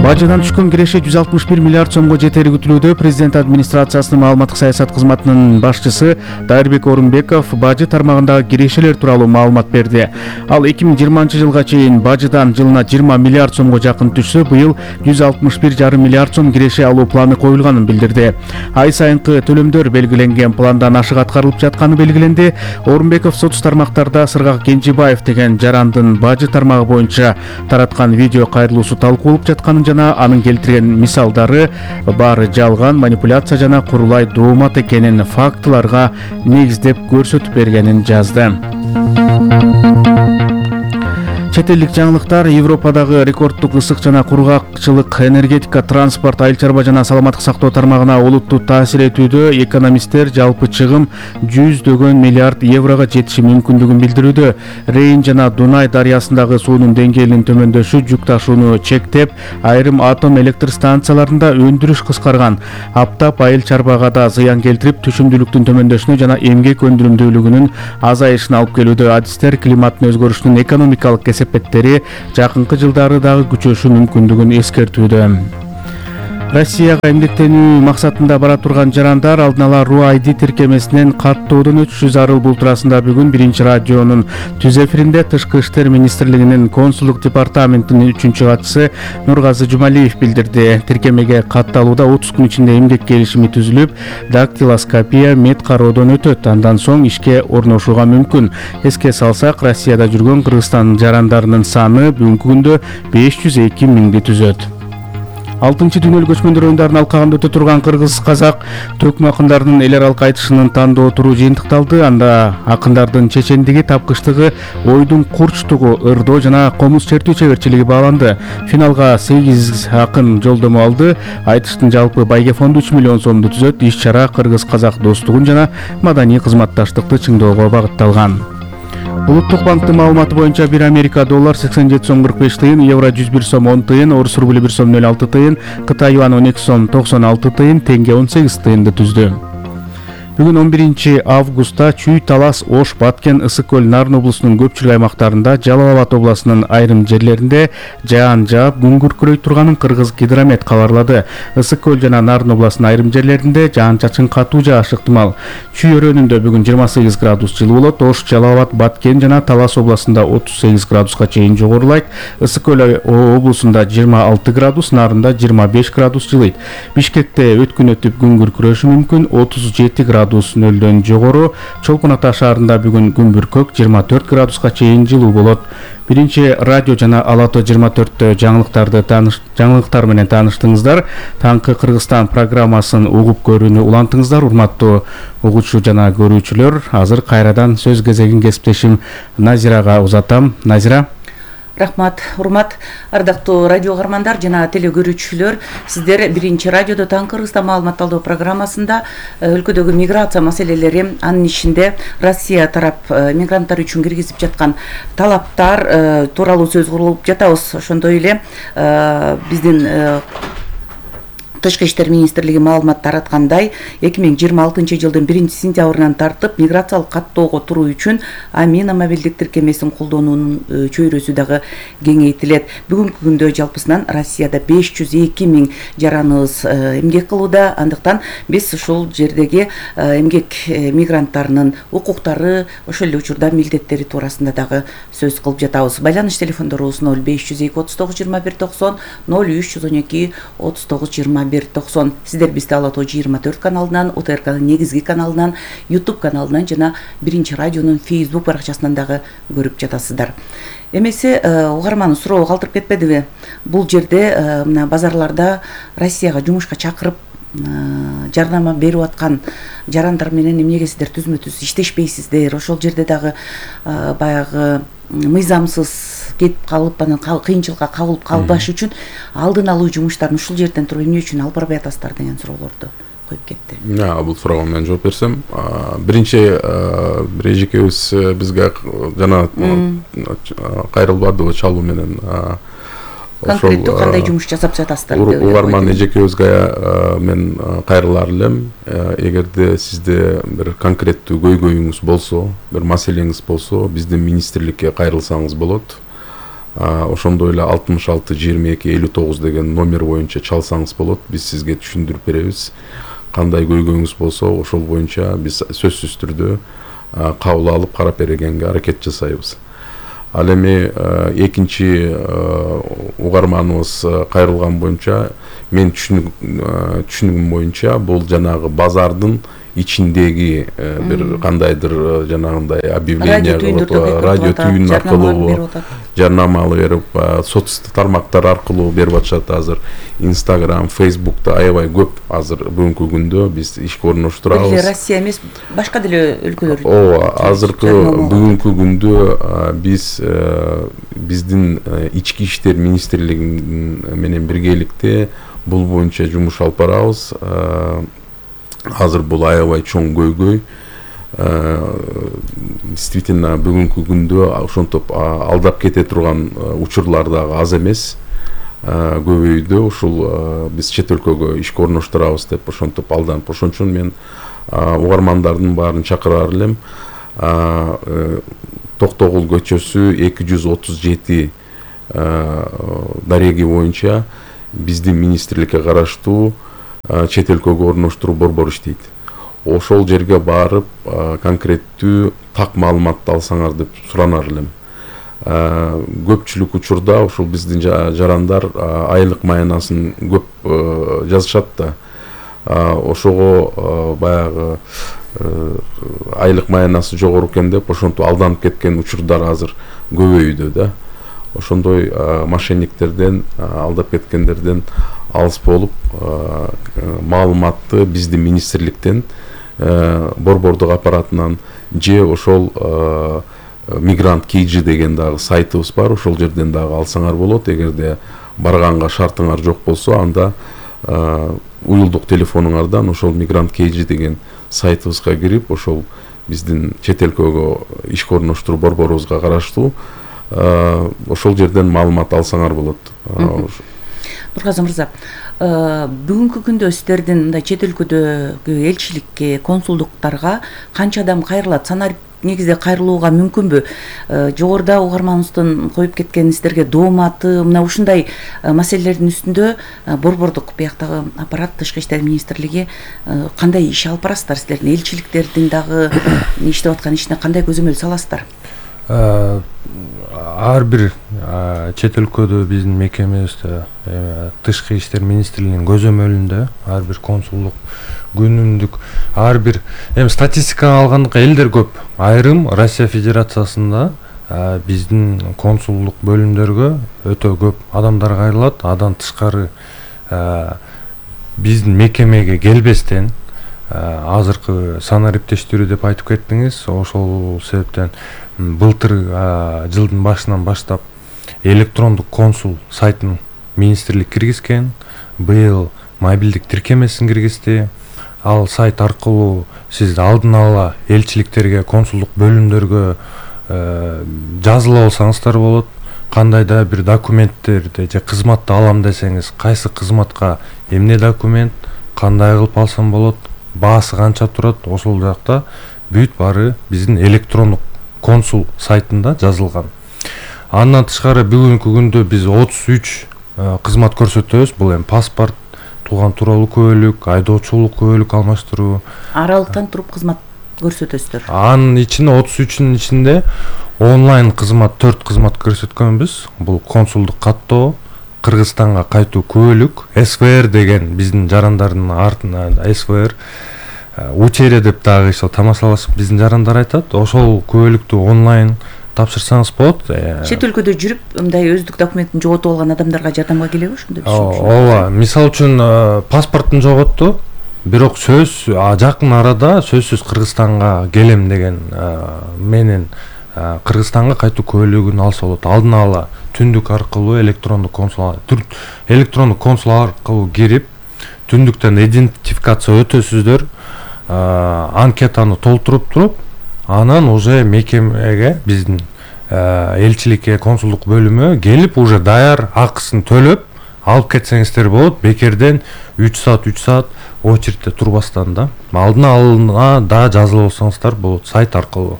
Speaker 14: Бажыдан түшкөн киреше 161 миллиард сомго жетери күтүлүүдө. Президент администрациясынын маалыматтык саясат кызматынын башчысы Дайырбек Орунбеков бажы тармагындагы кирешелер тууралуу маалымат берди. Ал 2020 жылга чейин бажыдан жылына 20 миллиард сомго жакын түшсө, быйыл 161,5 миллиард сом киреше алуу планы коюлганын билдирди. Ай сайынкы төлөмдөр белгиленген пландан ашык аткарылып жатканы белгиленди. Орунбеков соц тармактарда Сыргак Кенжебаев деген жарандын бажы тармагы боюнча тараткан видео кайрылуусу талкуулуп жатканын жана анын келтирген мисалдары баары жалган, манипуляция жана курулай доомат экенин фактыларга негиздеп көрсөтүп бергенин жазды. Чет элдик жаңылыктар. Европадагы рекорддук ысык жана кургакчылык энергетика, транспорт, айыл чарба жана саламаттык сактоо тармагына олуттуу таасир этүүдө. Экономисттер жалпы чыгым 100 миллиард еврого жетиши мүмкүндүгүн билдирүүдө. Рейн жана Дунай дарыясындагы суунун деңгээлинин төмөндөшү жүк ташууну чектеп, айрым атом электр станцияларында өндүрүш кыскарган. Аптап айыл чарбага да зыян келтирип, түшүмдүүлүктүн төмөндөшүнө жана эмгек өндүрүмдүүлүгүнүн азайышына алып келүүдө. Адистер климаттын өзгөрүшүнүн экономикалык кесепеттери жакынкы жылдары дагы күчөшү мүмкүндүгүн эскертүүдө. Россияга эмгектенүү максатында бара турган жарандар алдын ала РУ-ID тиркемесинен каттоодон өтүшү зарыл. Бул туурасында бүгүн Биринчи радионун түз эфиринде Тышкы иштер министрлигинин консулдук департаментинин 3-катчысы Нургазы Жумалиев билдирди. Тиркемеге катталууда 30 күн ичинде эмгек келишими түзүлүп, дактилоскопия, мед кароодон өтөт. Андан соң ишке орношууга мүмкүн. Эске салсак, Россияда жүргөн Кыргызстан жарандарынын саны бүгүнкү күндө 502 000 түзөт. 6 дүйнөлүк көчмөндөр оюндарынын алкагында өтө турган кыргыз-казак төкмө акындарынын эл аралык айтышынын тандоо туру жыйынтыкталды. Анда акындардын чечендиги, тапкычтыгы, ойдун курчтугу, ырдоо жана комуз чертүү чеберчилиги бааланды. Финалга 8 акын жолдомо алды. Айтыштын жалпы байге фонду 3 миллион сомду түзөт. Иш-чара кыргыз-казак достугун жана маданий кызматташтыкты чыңдоого багытталган. Улуттук банктын маалыматы боюнча 1 Америка доллар 87 сом 45 тыйын, евро 101 сом 10 тыйын, орус рубль 1 сом 06 тыйын, Кытай юан 12 сом 96 тыйын, теңге 18 тыйынды түздү. Бүгүн 11 августта Чүй, Талас, Ош, Баткен, Ысык көл, Нарын облусунун көпчүлүк аймактарында, Жалал Абад областынын айрым жерлеринде жаан жаап, күн күркүрөй турганын Кыргыз гидромет кабарлады. Ысык көл жана Нарын областынын айрым жерлеринде жаан-чачын катуу жаашы ыктымал. Чүй өрөөнүндө бүгүн 28 градус жылуу болот. Ош, Жалал Абад, Баткен жана Талас областында 38 градуска чейин жогорулайт. Ысык көл облусунда 26 градус, Нарында 25 градус жылыйт. Бишкекте өткүн өтүп күн күркүрөшү мүмкүн, 37 градус нөлдөн жогору. Чолпон Ата шаарында бүгүн күн бүркөк 24 градуска чейин жылуу болот. Биринчи радио жана Алато 24-тө жаңылыктар менен тааныштыңыздар. Таңкы Кыргызстан программасын угуп көрүүнү улантыңыздар. Урматтуу угуучу жана көрүүчүлөр, азыр кайрадан сөз кезегин кесиптешим Назирага узатам. Назира.
Speaker 8: Рахмат, урмат, ардактуу радио каармандар жана теле көрүүчүлөр, сиздер биринчи радиодо Таңкы Кыргызстан маалымат алуу программасында өлкөдөгү миграция маселелери, анын ичинде Россия тарап мигранттар үчүн киргизип жаткан талаптар тууралуу сөз кылып жатабыз. Ошондой эле биздин Тышкы иштер министрлиги маалымат тараткандай, 2026 жылдын 1-сентябрынан тартып миграциялык каттоого туруу үчүн Амина мобилдик тиркемесин колдонуунун чөйрөсү дагы кеңейтилет. Бүгүнкү күндө жалпысынан Россияда 502 миң жараныбыз эмгек кылууда. Андыктан биз ушул жердеги эмгек мигранттарынын укуктары, ошол эле учурда милдеттери туурасында дагы сөз кылып жатабыз. Байланыш телефондорубуз 0502 39 21 90, 0312 39 21 90. Сиздер бизди Алато 24 каналынан, УТРКнын негизги каналынан, YouTube каналынан жана биринчи радионун Facebook баракчасынан дагы көрүп жатасыздар. Эмеси угарман суроо калтырып кетпедиби? Бул жерде мына базарларда Россияга жумушка чакырып жардама берип аткан жарандар менен эмнеге сиздер түзмө-түз иштешпейсиздер? Ошол жерде дагы баягы мыйзамсыз кетип калып, анан кыйынчылыкка кабылып калбаш үчүн алдын алуу жумуштарын ушул жерден туруп эмне үчүн алып барбай атасыздар деген суроолорду коюп кетти.
Speaker 9: Бул суроого мен жооп берсем, биринчи бир эжекебиз бизге жана кайрылбадыбы чалуу менен
Speaker 8: конкреттүү кандай жумуш жасап жатасыздар деп
Speaker 9: угарман эжекебизге мен кайрылар элем. Эгерде сизде бир конкреттүү көйгөйүңүз болсо, бир маселеңиз болсо, биздин министрликке кайрылсаңыз болот. Ошондой эле 66 22 59 деген номер боюнча чалсаңыз болот. Биз сизге түшүндүрүп беребиз. Кандай көйгөйүңүз болсо, ошол боюнча биз сөзсүз түрдө кабыл алып карап бергенге аракет жасайбыз. Ал эми экинчи угарманыбыз кайрылган боюнча, мен түшүнүгүм боюнча бул жанагы базардын ичиндеги бир кандайдыр жанагындай объявление кылып, радио түйүн аркылуу жарнама берип, соц тармактар аркылуу берип атышат. Азыр Instagram, Facebook'та аябай көп азыр бүгүнкү күндө биз ишке орноштурабыз.
Speaker 8: Россия эмес, башка деле өлкөлөр.
Speaker 9: Азыркы бүгүнкү күндө биз биздин ички иштер министрлиги менен биргеликте бул боюнча жумуш алып барабыз. Азыр бул аябай чоң көйгөй. Действительно бүгүнкү күндө ошентип алдап кете турган учурлар дагы аз эмес. Көбөйдү. Ушул биз чет өлкөгө ишке орноштурабыз деп ошентип алданып. Ошон үчүн мен угармандардын баарын чакырар элем. Токтогул көчөсү 237 дареги боюнча биздин министрликке караштуу чет өлкөгө орноштуруу борбору иштейт. Ошол жерге барып конкреттүү так маалыматты алсаңар деп суранар элем. Көпчүлүк учурда ошол биздин жарандар айлык маянасын көп жазышат да. Ошого баягы айлык маянасы жогору экен деп ошентип алданып кеткен учурдар азыр көбөйдү да. ошондой мошенниктерден, алдап кеткендерден алыс болуп, маалыматты биздин министрликтен, борбордук аппаратынан же ошол Migrant KG деген дагы сайтыбыз бар, ошол жерден дагы алсаңар болот. Эгерде барганга шартыңар жок болсо, анда уюлдук телефонуңардан ошол Migrant KG деген сайтыбызга кирип, ошол биздин чет элкөгө ишке орноштуруу борборубузга караштуу ошол жерден маалымат алсаңар болот.
Speaker 8: Нургазы мырза, бүгүнкү күндө сиздердин мындай чет өлкөдөгү элчиликке, консулдуктарга канча адам кайрылат? Санарип негизде кайрылууга мүмкүнбү? Жогоруда угарманыбыздын коюп кеткен сиздерге дооматы, мына ушундай маселелердин үстүндө борбордук бияктагы аппарат, Тышкы иштер министрлиги кандай иш алып барасыздар? Сиздердин элчиликтердин дагы иштеп аткан ишине кандай көзөмөл саласыздар?
Speaker 10: Ар бир чет өлкөдө биздин мекемебизде Тышкы иштер министрлигинин көзөмөлүндө ар бир консулдук күнүмдүк ар бир статистикага алганда элдер көп. Айрым Россия Федерациясында биздин консулдук бөлүмдөргө өтө көп адамдар кайрылат. Андан тышкары биздин мекемеге келбестен азыркы санариптештирүү деп айтып кеттиңиз. Ошол себептен былтыр жылдын башынан баштап электрондук консул сайтын министрлик киргизген. Быйыл мобилдик тиркемесин киргизди. Ал сайт аркылуу сиз алдын ала элчиликтерге, консулдук бөлүмдөргө жазыла алсаңыздар болот. Кандай да бир документтерди же кызматты алам десеңиз, кайсы кызматка эмне документ, кандай кылып алсам болот, баасы канча турат, ошол жакта бүт баары биздин электрондук консул сайтында жазылган. Андан тышкары бүгүнкү күндө биз 33 кызмат көрсөтөбүз. Бул паспорт, тууган тууралуу күбөлүк, айдоочулук күбөлүк алмаштыруу.
Speaker 8: Аралыктан туруп кызмат көрсөтөсүздөр.
Speaker 10: Анын ичинде 33-ün ичинде онлайн кызмат 4 кызмат көрсөткөнбүз. Бул консулдук каттоо, Кыргызстанга кайтуу күбөлүк, СВР деген биздин жарандардын артынан СВР учере деп дагы ошо тамашалашып биздин жарандар айтат. Ошол күбөлүктү онлайн тапшырсаңыз болот.
Speaker 8: Чет өлкөдө жүрүп, мындай өздүк документин жоготуп алган адамдарга жардамга келеби ошондой?
Speaker 10: Ооба, мисалы үчүн паспортун жоготту, бирок жакын арада сөзсүз Кыргызстанга келем деген менен Кыргызстанга кайтуу күбөлүгүн алса болот. Алдын ала түндүк аркылуу электрондук консул аркылуу кирип, түндүктөн идентификация өтөсүздөр, анкетаны толтуруп туруп, анан уже мекемеге, биздин элчиликке, консулдук бөлүмү келип, уже даяр акысын төлөп алып кетсеңиздер болот. Бекерден 3 саат очередте турбастан да. Алдын ала да жазылып алсаңыздар болот сайт аркылуу.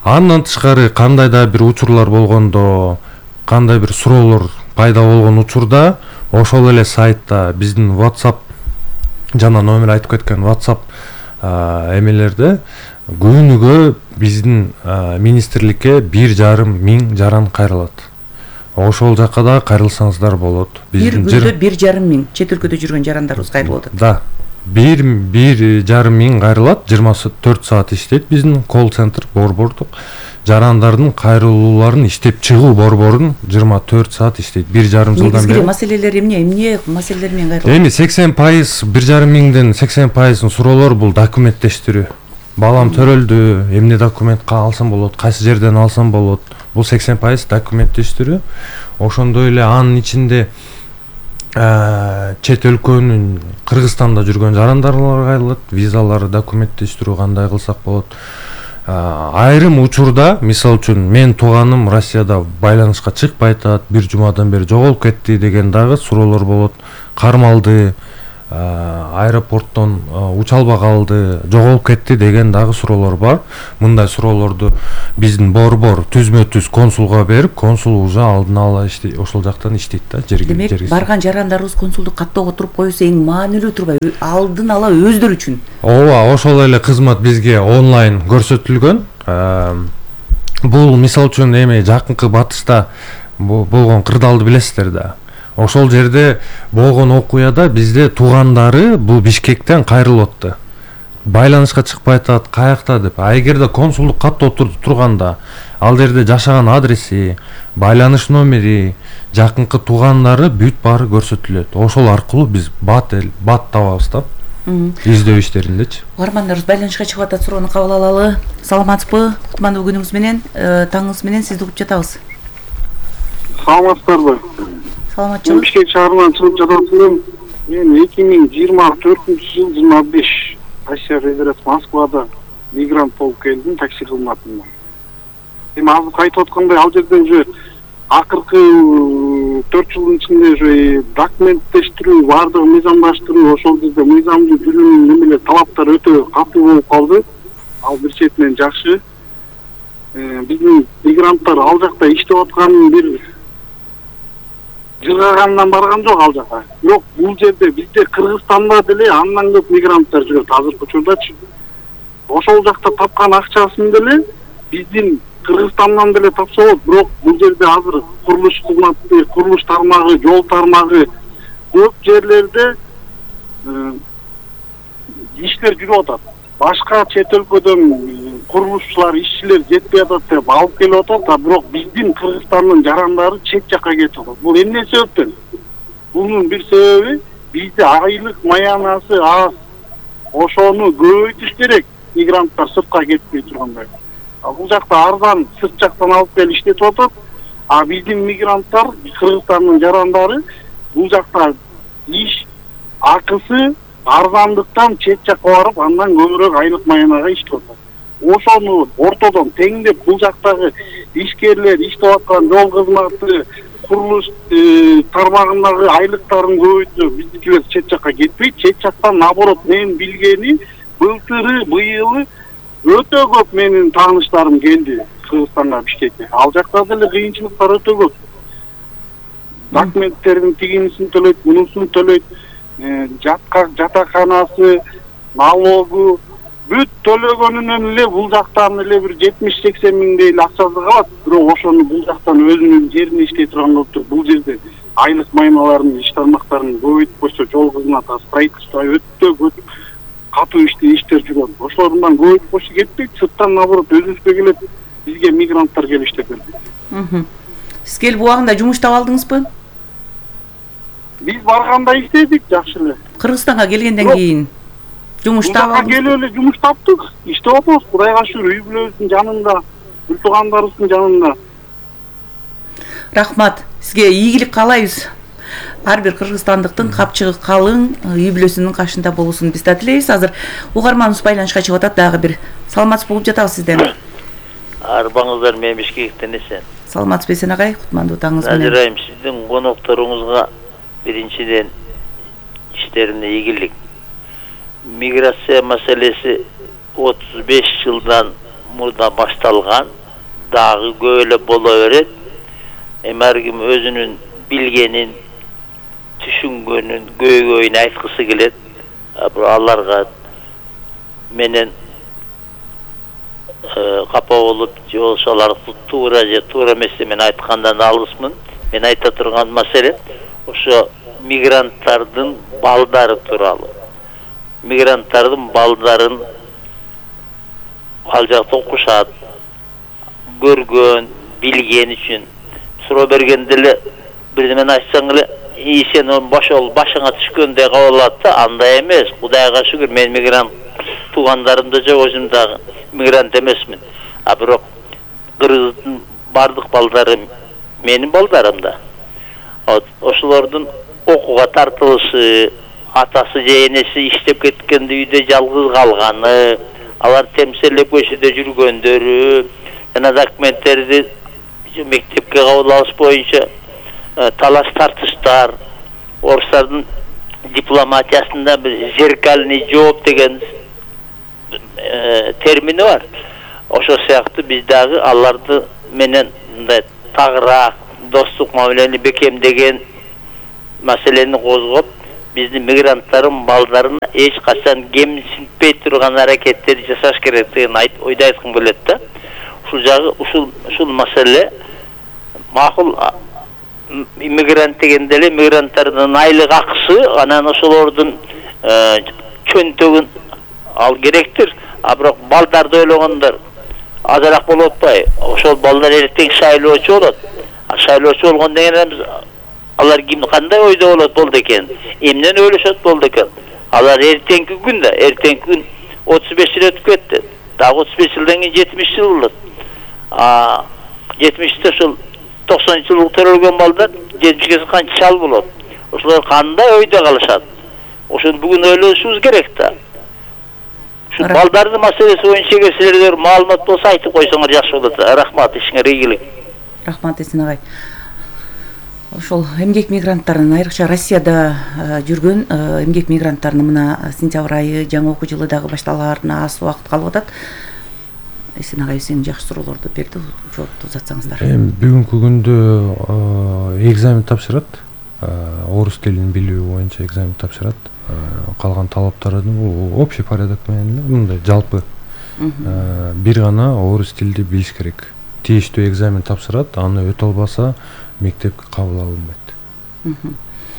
Speaker 10: Андан тышкары кандай да бир учурлар болгондо, кандай бир суроолор пайда болгон учурда, ошол эле сайтта биздин WhatsApp жана номер айтып кеткен WhatsApp эмелерде күнүгө биздин министрликке 1,5 миң жаран кайрылат. Ошол жакка да кайрылсаңыздар болот.
Speaker 8: Бир күндө 1,5 миң чет өлкөдө жүргөн жарандарыбыз кайрылып атат.
Speaker 10: Да. 1,5 миң кайрылат, 24 саат иштейт биздин колл-центр борбордук. Жарандардын кайрылууларын иштеп чыгуу борборун 24 саат иштейт. 1,5 жылдан бери.
Speaker 8: Маселелер эмне маселелер менен кайрылат?
Speaker 10: Эми 80%, 1,5 миңден 80% суроолор бул документтештирүү. Балам төрөлдү, эмне документ алсам болот, кайсы жерден алсам болот. Бул 80% документтештирүү. Ошондой эле анын ичинде чет өлкөнүн Кыргызстанда жүргөн жарандарлар кайрылат, визалары документтештирүү кандай кылсак болот. Айрым учурда, мисалы үчүн, мен тууганым Россияда байланышка чыкпай атат, бир жумадан бери жоголуп кетти деген дагы суроолор болот. Кармалды, аэропорттон уча албай калды, жоголуп кетти деген дагы суроолор бар. Мындай суроолорду биздин борбор түзмө-түз консулга берип, консул уже алдын ала ошол жактан иштейт да, жерге.
Speaker 8: Демек, барган жарандарыбыз консулдук каттоого туруп коюусу эң маанилүү турбайбы? Алдын ала өздөрү үчүн.
Speaker 10: Ооба, ошол эле кызмат бизге онлайн көрсөтүлгөн. Бул мисалы үчүн эми жакынкы батышта болгон кырдаалды билесиздер да. Ошол жерде болгон окуяда бизде туугандары бул Бишкектен кайрылып атты. байланышка чыкпай атат, каякта деп. А эгерде консулдук катта турганда, ал жерде жашаган адреси, байланыш номери, жакынкы туугандары бүт баары көрсөтүлөт. Ошол аркылуу биз бат табабыз да. Издөө иштериндечи.
Speaker 8: Угармандарыбыз байланышка чыгып атат, суроону кабыл алалы. Саламатсызбы? Кутмандуу күнүңүз менен, таңыңыз менен сизди угуп жатабыз.
Speaker 15: Саламатсыздарбы?
Speaker 8: Саламатчылык.
Speaker 15: Бишкек шаарынан чыгып жататмын. Мен 2024-жыл 25 Россия Федерациясы Москвада мигрант болуп келдим такси кызматында. Эми азыр айтып аткандай, ал жерде уже акыркы 4 жылдын ичинде уже документтештирүү, баардыгы мыйзамдаштыруу, ошол жерде мыйзамдуу билүүнүн немелер талаптары өтө катуу болуп калды. Ал бир четинен жакшы. Биздин мигранттар ал жакта иштеп атканын бир жыргагандан барган жок ал жака. Бирок бул жерде бизде Кыргызстанда деле андан көп мигранттар жүрөт азыркы учурдачы. Ошол жакта тапкан акчасын деле биздин Кыргызстандан деле тапса болот, бирок бул жерде азыр курулуш кызматы, курулуш тармагы, жол тармагы көп жерлерде иштер жүрүп атат. Башка чет өлкөдөн курулушчулар, ишчилер жетпей атат деп алып келип атат, а бирок биздин Кыргызстандын жарандары чет жакка кетип атат. Бул эмне себептен? Бунун бир себеби бизде айлык маянасы аз. Ошону көбөйтүш керек, мигранттар сыртка кетпей тургандай. Бул жакта арзан сырт жактан алып келип иштетип атат, а биздин мигранттар, Кыргызстандын жарандары бул жакта иш акысы арзандыктан чет жакка барып, андан көбүрөөк айлык маянага иштеп атат. Ошону ортодон теңдеп бул жактагы ишкерлер иштеп аткан жол кызматы, курулуш тармагындагы айлыктарын көбөйтүп, биздикилер чет жакка кетпей, чет жактан наоборот мен билгени былтыры, быйылы өтө көп менин тааныштарым келди Кыргызстанга, Бишкекке. Ал жакта деле кыйынчылыктар өтө көп. Документтердин тигинисин төлөйт, мунусун төлөйт, жатаканасы, налогу бүт төлөгөнүнөн эле бул жактан эле бир 70-80 миңдей эле акчасы калат. Бирок ошону бул жактан өзүнүн жерине иштей турган болуп туруп, бул жерде айлык майналарын, иш тармактарын көбөйтүп койсо, жол кызматы, строительство өтө көп катуу иштер жүрөт. Ошолордон көбөйтүп койсо кетпейт, сырттан наоборот өзүбүзгө келет, бизге мигранттар келип иштеп берди.
Speaker 8: Сиз келип убагында жумуш таап алдыңызбы?
Speaker 15: Биз барганда иштедик, жакшы эле.
Speaker 8: Кыргызстанга келгенден кийин жумуш таап алдыңызбы?
Speaker 15: Келип эле жумуш таптык, иштеп атабыз, Кудайга шүгүр, үй бүлөбүздүн жанында, үй туугандарыбыздын жанында.
Speaker 8: Рахмат, сизге ийгилик каалайбыз. Ар бир кыргызстандыктын капчыгы калың, үй бүлөсүнүн кашында болуусун биз да тилейбиз. Азыр угарманыбыз байланышка чыгып атат, дагы бир саламатсыз болуп жатабыз сизден.
Speaker 16: Арбаңыздар, мен Бишкектен эсен.
Speaker 8: Саламатсыз Эсен агай, кутмандуу таңыңыз менен.
Speaker 16: Ажырайым, сиздин конокторуңузга биринчиден иштерине ийгилик. Миграция маселеси 35 жылдан мурда башталган, дагы көп эле боло берет. Ар ким өзүнүн билгенин, түшүнгөнүн, көйгөйүн айткысы келет. Аларга менен капа болуп, же болбосо алар туура же туура эмес деп мен айткандан алысмын. Мен айта турган маселе ошо мигранттардын балдары тууралуу. Мигранттардын балдарын ал жакта окушат, көргөн, билген үчүн суроо бергенде эле бирдемен айтсаң эле, сен ошол башыңа түшкөндөй кабыл алат да, андай эмес. Кудайга шүгүр, мен мигрант туугандарым да жок, өзүм дагы мигрант эмесмин. А бирок Кыргыздын бардык балдары менин балдарым да. Ошолордун окууга тартылышы, атасы же энеси иштеп кеткенде үйдө жалгыз калганы, алар темселеп көчөдө жүргөндөрү, жана документтерди мектепке кабыл алыш боюнча талаш тартыштар, орустардын дипломатиясында бир зеркальный жооп деген термини бар. Ошол сыяктуу биз дагы аларды менен мындай тагыраак достук мамилени бекемдеген маселени козгоп, биздин мигранттардын балдарына эч качан кемсинтпей турган аракеттерди жасаш керек деген ойду айткым келет да. Ушул жагы ушул маселе макул. Иммигрант дегенде эле мигранттардын айлык акысы, анан ошолордун чөнтөгүн ал керектир. А бирок балдарды ойлогондор азыраак болуп атпайбы? Ошол балдар эртең шайлоочу болот. А шайлоочу болгондон кийин алар ким кандай ойдо болду экен? Эмнен ойлошот болду экен? Алар эртеңки күн 35 жыл өтүп кетти. Дагы 35 жылдан кийин 70 жыл болот. 70-те ошол 90 жылдык төрөлгөн балдар 70-ге канча жал болот. Ошолор кандай ойдо калышат? Ошону бүгүн ойлошубуз керек да. Şu балдардын маселеси боюнча эгер силерде маалымат болсо айтып койсоңор жакшы болот. Рахмат, ишиңер ийгилик.
Speaker 8: Рахмат Эсен агай. Ошол эмгек мигранттарынын айрыкча Россияда жүргөн эмгек мигранттарынын мына сентябрь айы жаңы окуу жылы дагы башталаарына аз убакыт калып атат. Эсен агай сен жакшы суроолорду берди, жоопту узатсаңыздар.
Speaker 10: Бүгүнкү күндө экзамен тапшырат. Орус тилин билүү боюнча экзамен тапшырат. Калган талаптарын бул общий порядок менен мындай жалпы бир гана орус тилди билиш керек. Тийиштүү экзамен тапшырат, аны өтө албаса мектепке кабыл алынбайт.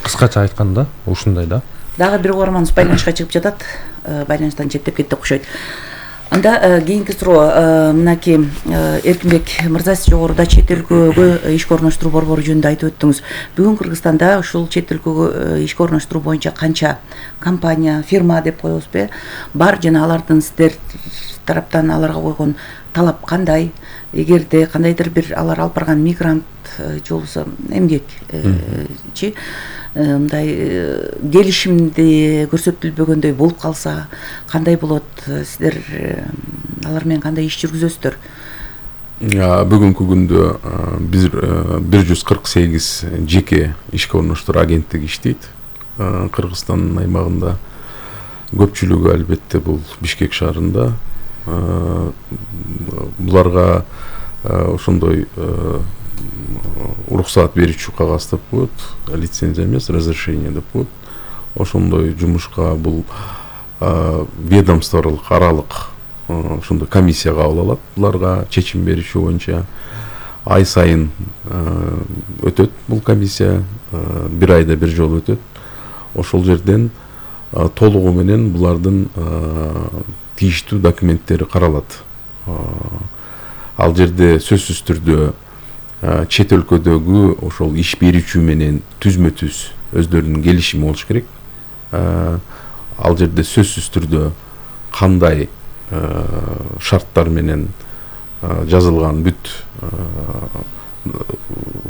Speaker 10: Кыскача айтканда ушундай да.
Speaker 8: Дагы бир угарманыбыз байланышка чыгып жатат. Байланыштан четтеп кетти окшойт. Анда кийинки суроо мынакей Эркинбек мырза, сиз жогоруда чет өлкөгө ишке орноштуруу борбору жөнүндө айтып өттүңүз. Бүгүн Кыргызстанда ушул чет өлкөгө ишке орноштуруу боюнча канча компания, фирма деп коебузбу, бар жана алардын сиздер тараптан аларга койгон талап кандай? Эгерде кандайдыр бир алар алып барган мигрант же болбосо эмгекчи мындай келишимди көрсөтүлбөгөндөй болуп калса кандай болот? Сиздер алар менен кандай иш жүргүзөсүздөр?
Speaker 9: Бүгүнкү күндө 148 жеке ишке орноштуруу агенттиги иштейт. Кыргызстандын аймагында көпчүлүгү албетте бул Бишкек шаарында. Буларга ошондой уруксаат берүүчү кагаз деп коет, лицензия эмес, разрешение деп коет. Ошондой жумушка бул ведомстволук аралык ошондой комиссия кабыл алат. Буларга чечим берүүчү боюнча ай сайын өтөт бул комиссия, бир айда бир жолу өтөт. Ошол жерден толугу менен булардын тийиштүү документтери каралат. Ал жерде сөзсүз түрдө чет өлкөдөгү ошол иш берүүчү менен түзмө-түз өздөрүнүн келишими болуш керек. Ал жерде сөзсүз түрдө кандай шарттар менен жазылган бүт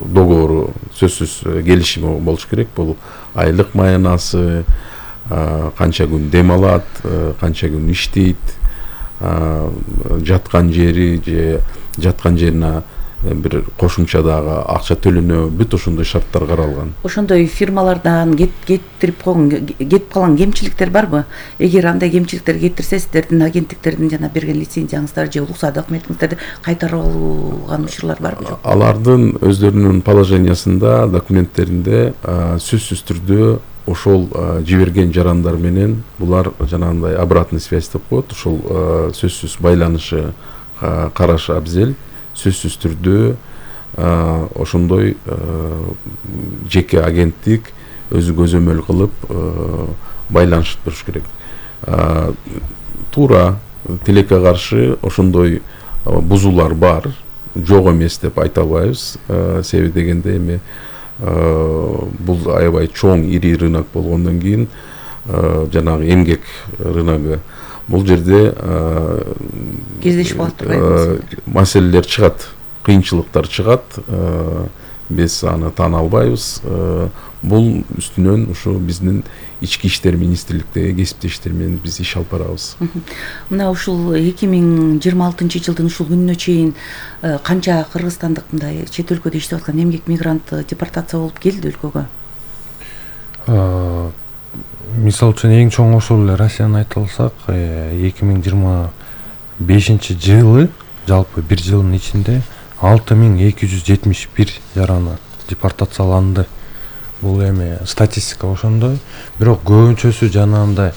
Speaker 9: договору сөзсүз келишими болуш керек. Бул айлык маянасы, канча күн дем алат, канча күн иштейт, жаткан жери же жаткан жерине бир кошумча дагы акча төлөнө, бүт ошондой шарттар каралган.
Speaker 8: Ошондой фирмалардан кетип калган кемчиликтер барбы? Эгер андай кемчиликтер кетирсе, сиздердин агенттиктердин жана берген лицензияңыздар же уруксат документиңиздерди кайтарып алган учурлар барбы, жокпу? Алардын
Speaker 9: өздөрүнүн положениясында, документтеринде сөзсүз түрдө ошол жиберген жарандар менен булар жанагындай обратный связь деп коет, ошол сөзсүз байланышы караш абзел. Сөзсүз түрдө ошондой жеке агенттик өзү көзөмөл кылып байланышып туруш керек. Туура тилекке каршы ошондой бузуулар бар, жок эмес деп айта албайбыз. Себеби дегенде эми бул аябай чоң ири рынок болгондон кийин жанагы эмгек рыногу бул жерде
Speaker 8: кездешип калат,
Speaker 9: маселелер чыгат, кыйынчылыктар чыгат. Биз аны таана албайбыз. Бул үстүнөн ушу биздин ички иштер министрликтеги кесиптештер менен биз иш алып барабыз.
Speaker 8: Мына ушул 2026-жылдын ушул күнүнө чейин канча кыргызстандык мындай чет өлкөдө иштеп аткан эмгек мигрант депортация болуп келди өлкөгө?
Speaker 10: Мисалы үчүн эң чоң ошол эле Россияны айта алсак, 2025 жылы жалпы бир жылдын ичинде 6271 жараны депортацияланды. Бул эми статистика ошондой. Бирок көбүнчөсү жанагындай